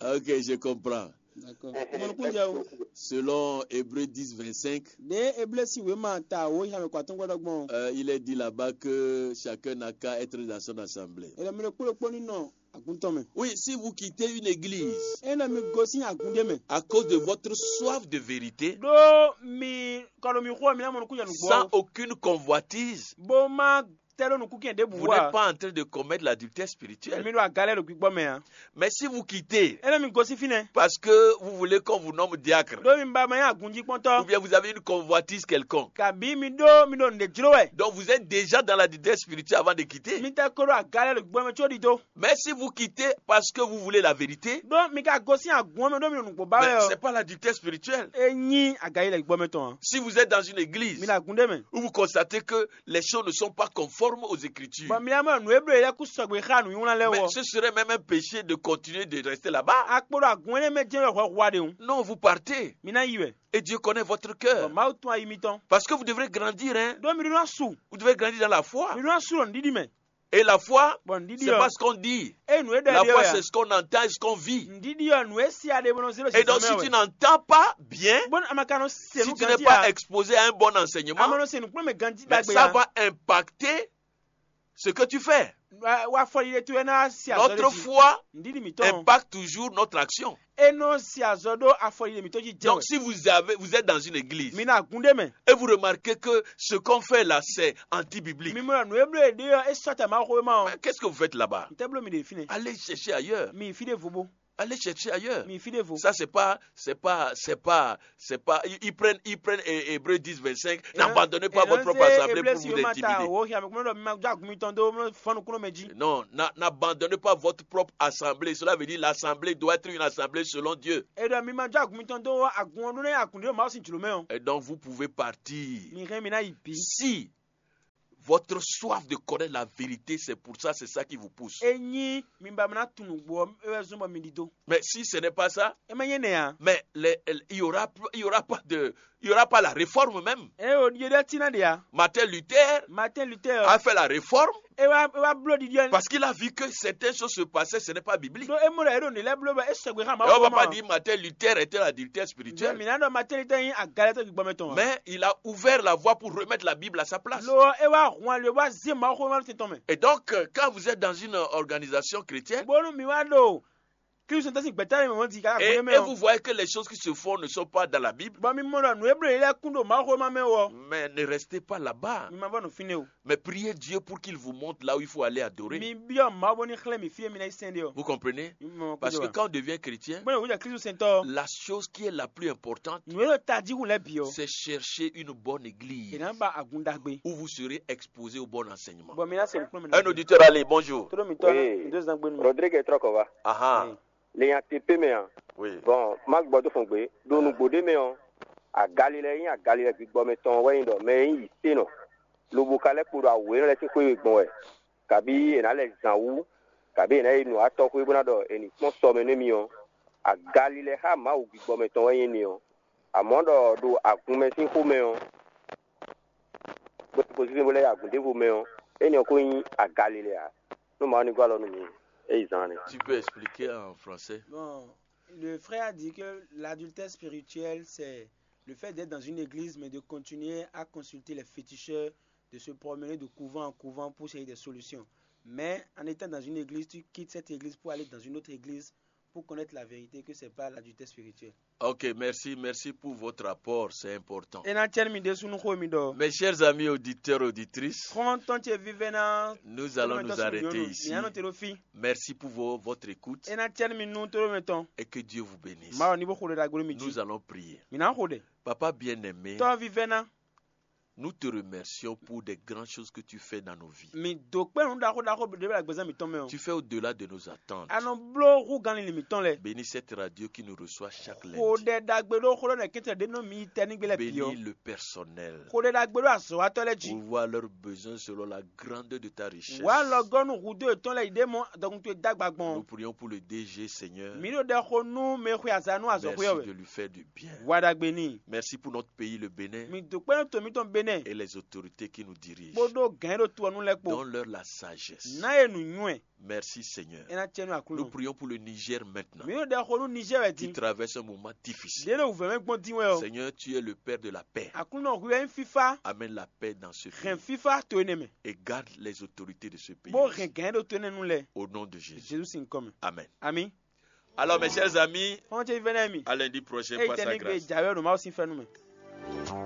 Ok, je comprends. D'accord. Mɔnukúnjɛ o. Selon Hébreu dix, vingt-cinq, Ɖe Eblesi wěma ta wo xyamɛ kɔ atɔ́ngɔ́ ɖɔgbɔn. Euh, il est dit là-bas que chacun n'a qu'à être dans son assemblée. Ela mi ɖo kpóɖokpó ní nɔ agun tɔn mɛ. Oui, si vous quittez une église Ena mi gosín agun ɖé mɛ. À cause de votre soif de vérité, Ɖó mi kɔ ɖo mi xó mi ná mɔnukúnjɛ nǔgbó. Sans aucune convoitise, Bó má tɛ ɖó nukúnkɛn ɖěbǔ Vous n'êtes pas en train de commettre l'adultère spirituel. Mi ɖo agalɛ ɖo gbígbɔ mɛ ǎ. Mais si vous quittez, Ena mi gosín fínɛ́. Parce que vous voulez qu'on vous nomme diacre, Ɖó mi ba ma nyí agunjíkpɔ́ntɔ́. Ou bien vous avez une convoitise quelconque. Kabǐ mi ɖó mi ɖo nǔɖé jló wɛ. Donc vous êtes déjà dans l'adultère spirituel avant de quitter. Mi tɛ ko ɖo agalɛ ɖo gbígbɔ mɛ có ɖidó. Mais si vous quittez parce que vous voulez la vérité, Ɖó mi ka gosín agun ɔ́ mɛ ɖó mi ɖo nǔgbó ba mais wɛ ɔ́. C'est pas l'adultère spirituel. E nyí agalɛ ɖo gbígbɔ mɛ tɔn ǎ. Si vous êtes dans une église Mi ɖo agun ɖé mɛ. Où vous constatez que les choses ne sont pas conformes Aux Écritures. Bɔ mi ná mɔ nǔ e bló yě lɛ́ɛ kú sɔgbe xá nǔnywlán lɛ́ɛ. Mais wɔ Ce serait même un péché de continuer de rester là-bas. Akpo ɖo agun énɛ́ mɛ jɛ́n wɛ hwɛ hwa ɖe hǔn. Non, vous partez. Mi ná yi wɛ. Et Dieu connaît votre cœur. Bɔ Mawu tún ayi mitɔn. Parce que vous devrez grandir, hein. Ɖó mi ɖó ná su. Vous devez grandir dans la foi. Mi ɖó ná su ɖo nǔɖiɖi mɛ. Et la foi, Bɔ nǔɖiɖi c'est ɔ́, pas ce qu'on dit. Eye nǔ e ɖɔ La foi, c'est ce qu'on entend et ce qu'on vit. Nǔɖiɖi ɔ́, nǔ e si a ɖe bó nɔ zé ɖo Et donc, si tu n'entends pas bien, bónú a ma ka nɔ se si nǔ tu n'es ganjí pas a, exposé à un bon a ma enseignement, nɔ se nǔkplɔ́nmɛ ganjí mais ɖagbe ça a, va impacter ce que tu fais. Wa afɔɖiɖe towe ná si azɔ Notre ɖé jí. Foi Nǔɖiɖi mǐtɔn impacte toujours notre action. E nɔ si azɔ ɖó afɔɖiɖe mǐtɔn jí jɛ Donc, wɛ. Si vous avez, vous êtes dans une église Mi na gun ɖé mɛ. Et vous remarquez que ce qu'on fait là, c'est anti-biblique. Mi mɔ nǔ e bló e ɖe ɔ́, e sɔ́ ta Mawu xwéma ɔ́. Mais qu'est-ce que vous faites là-bas? N tɛ bló mi ɖe fínɛ́. Allez chercher ailleurs. Mi yi fí ɖěvo bó. Allez chercher ailleurs. Mi yi fí ɖěvo. Ça, c'est pas, c'est pas, c'est pas, c'est pas. Ils, ils prennent, ils prennent Hé-, Hébreu dix, vingt-cinq. N'abandonnez pas votre propre assemblée pour vous intimider. Wo hia mi kúnlɛ ɖɔ mi ma jó agun mitɔn dó fɔnukúnlɔ mɛ jí. Non, n'a-, n'abandonnez pas votre propre assemblée. Cela veut dire l'assemblée doit être une assemblée selon Dieu. E ɖɔ mi ma jó agun mitɔn dó agun ɔ́ ɖó ná agun ɖé Mawu sín jlǒ mɛ ɔ́. Et donc, vous pouvez partir. Mi hɛn mi ná yi bǐ. Si votre soif de connaître la vérité, c'est pour ça, c'est ça qui vous pousse. Ényí mi ba ná tunwun nǔgbó ɔ́, é wɛ zɔ́n bɔ mi ɖidó. Mais si ce n'est pas ça, É ma nyí énɛ́ ǎ. Mais les, il y aura, il y aura pas de, il y aura pas la réforme même. É o ɖiɖe ɖé ɔ́ cí ná ɖe ǎ. Martin Luther Martin Luther a ɔ́, fait la réforme é wá é wá bló ɖiɖi ɔ́. Parce qu'il a vu que certaines choses se passaient, ce n'est pas biblique. Ɖó é mɔ ɖɔ é ɖo nǔ lɛ́ɛ bló bɔ é sɔgbe xá Et Mawu on va pas xóma. Dire Martin Luther était l'adultère Jɛ spirituel. Mǐ ná ɖɔ Martin Luther nyí agalɛtɔ́ gbígbɔ́mɛ tɔn ǎ. Mais il a ouvert la voie pour remettre la Bible à sa place. Lo ɔ́, é wá hun ali wá zé Mawu xóma tɔn mɛ. Et donc, euh, quand vous êtes dans une organisation chrétienne, Bónú mi wá ɖo Klísu tɔn sín gbɛ̌ta e mɛ mɔ̌ di ká et, gbɔn mɛ et ɔ́. Vous voyez que les choses qui se font ne sont pas dans la Bible, Bɔ mi mɔ ɖɔ nǔ e bló yě lɛ́ɛ kún ɖo Mawu xóma mɛ wɔ. Mais ne restez pas là-bas. Mi ma vɔ nɔ fínɛ́ o. Mais priez Dieu pour qu'il vous montre là où il faut aller adorer. Mi byɔ́ Mawu bónú xlɛ́ mi fí e mi ná yi sɛn ɖe ɔ́. Vous comprenez? Mi mɔ Parce que quand on devient chrétien, Bónú wǔ jɛ Klísu sɛntɔ́ ɔ́. La chose qui est la plus importante, Nǔ e ɖo tají hu lɛ́ɛ bǐ ɔ́. C'est chercher une bonne église. È nǎ ba agun ɖagbe. Où vous serez exposé au bon enseignement. Bɔ mi ná se nǔkplɔ́nmɛ. Un auditeur, allez, bonjour. Tó ɖó mi tɔn. Oui. Mi dó zan gbé nu. Rodrigue Trɔkɔva. Aha. Lenya tepe mɛ a? Oui. Bon, má gbɔ tó fɔn gbé. Ɖo nǔgbó ɖé mɛ ɔ́, agalilɛ nyí agalilɛ gbígbɔ mɛ tɔn wɛ nyí ɖɔ mɛ e nyí yǐténɔ, lobo ka lɛ́ kpo ɖo awu énɛ́ lɛ́ɛ sín xwé e gbɔn wɛ, kabí è nǎ lɛ zǎn wú, kabí è nǎ yi nǔ atɔ́ xwé bó ná ɖɔ è nǐ kpɔ́n sɔ mɛ nú émí ɔ́, agalilɛ xá Mawu gbígbɔ mɛ tɔn wɛ nyí émí ɔ́. Amɔ̌ ɖɔ ɖo agun mɛ sín xomɛ ɔ́, bó ko sísɛ́n bó lɛ́ yi agun ɖěvo mɛ ɔ́, énɛ́ ɔ́ ko nyí agalilɛ ǎ. Nú Mawu ní gɔ́ alɔ nú mi, é yi zán nɛ́. Tu peux expliquer en français? Bon, le frère a dit que l'adultère spirituel, c'est le fait d'être dans une église, mais de continuer à consulter les féticheurs, de se promener de couvent en couvent pour chercher des solutions. Mais en étant dans une église, tu quittes cette église pour aller dans une autre église pour connaître la vérité que c'est pas l'adultère spirituel. Ok, merci, merci pour votre apport, c'est important. E ná cɛ́ nú mi ɖésú nú xó e mi ɖɔ. Mes chers amis auditeurs, auditrices, Xɔ́ntɔn ce vívɛ́ná, nous allons nous arrêter ici. Mi anɔ te ɖo fí. Merci pour vo-, votre écoute E ná cɛ́ nú mi nú tóɖó mɛ tɔn. Et que Dieu vous bénisse. Mawu ní bó xo ɖe ɖagbe nú mi jí. Nous allons prier. Mi ná xo ɖe. Papa bien-aimé, Tɔ́ vívɛ́ná, nous te remercions pour des grandes choses que tu fais dans nos vies. Mi dó kpé nǔ ɖaxó ɖaxó ɖé ɖo agbezán mǐtɔn mɛ ɔ́. Tu fais au-delà de nos attentes. A nɔ bló hú ganlin mǐtɔn lɛ́ɛ. Bénis cette radio qui nous reçoit chaque lundi. Xo ɖɛ ɖagbe ɖó xó ɖɔ nɛkɛntɛ ɖé nɔ mi yi tɛ nígbé lɛ́ɛ bǐ ɔ́. Bénis le personnel. Xo ɖɛ ɖagbe ɖó azɔ̌watɔ́ lɛ́ɛ jí. Pourvoir leurs besoins selon la grandeur de ta richesse. Wǎ lɔgɔ́ nú hudó yětɔn lɛ́ɛ yi ɖě mɔ dɔkun towe dó agba gbɔn. Nous prions pour le D G, Seigneur. Mǐ ɖo ɖɛ xo nú mɛ e xwe azǎn nú azɔ̌xwé ɔ́ Merci wɛ. De lui faire du bien. Wa ɖagbe n'i. Merci pour notre pays, le Bénin, Mi dó kpɛ́ nú to mǐtɔn Benɛ́, et les autorités qui nous dirigent. Bó ɖó gǎn e ɖo to ɔ́ nu lɛ́ɛ kpó. Donne-leur la sagesse. Ná yě nǔnywɛ́. Merci, Seigneur. É ná cɛ nú Aklúnɔ. Nous prions pour le Niger maintenant, Mǐ ɖo ɖɛ xo nú Niger wɛ qui din. Traverse un moment difficile. Ɖě ɖo wǔvɛ́ mɛ gbɔn dín wɛ ɔ́. Seigneur, tu es le Père de la paix. Aklúnɔ hwi wɛ nyí fífá. Amène la paix dans ce pays. Hɛn fífá to énɛ́ mɛ. Et garde les autorités de ce pays. Bó hɛn gǎn e ɖo to énɛ́ nu lɛ́ɛ. Au nom de Jésus. Jésus sín kɔ mɛ. Amen. Amǐ. Alors, mes chers amis, Xɔ́ntɔn ce vívɛ́ná mi. À lundi prochain, par sa grâce. Jǎwe ɖo Mawu sín fɛ́nú mɛ.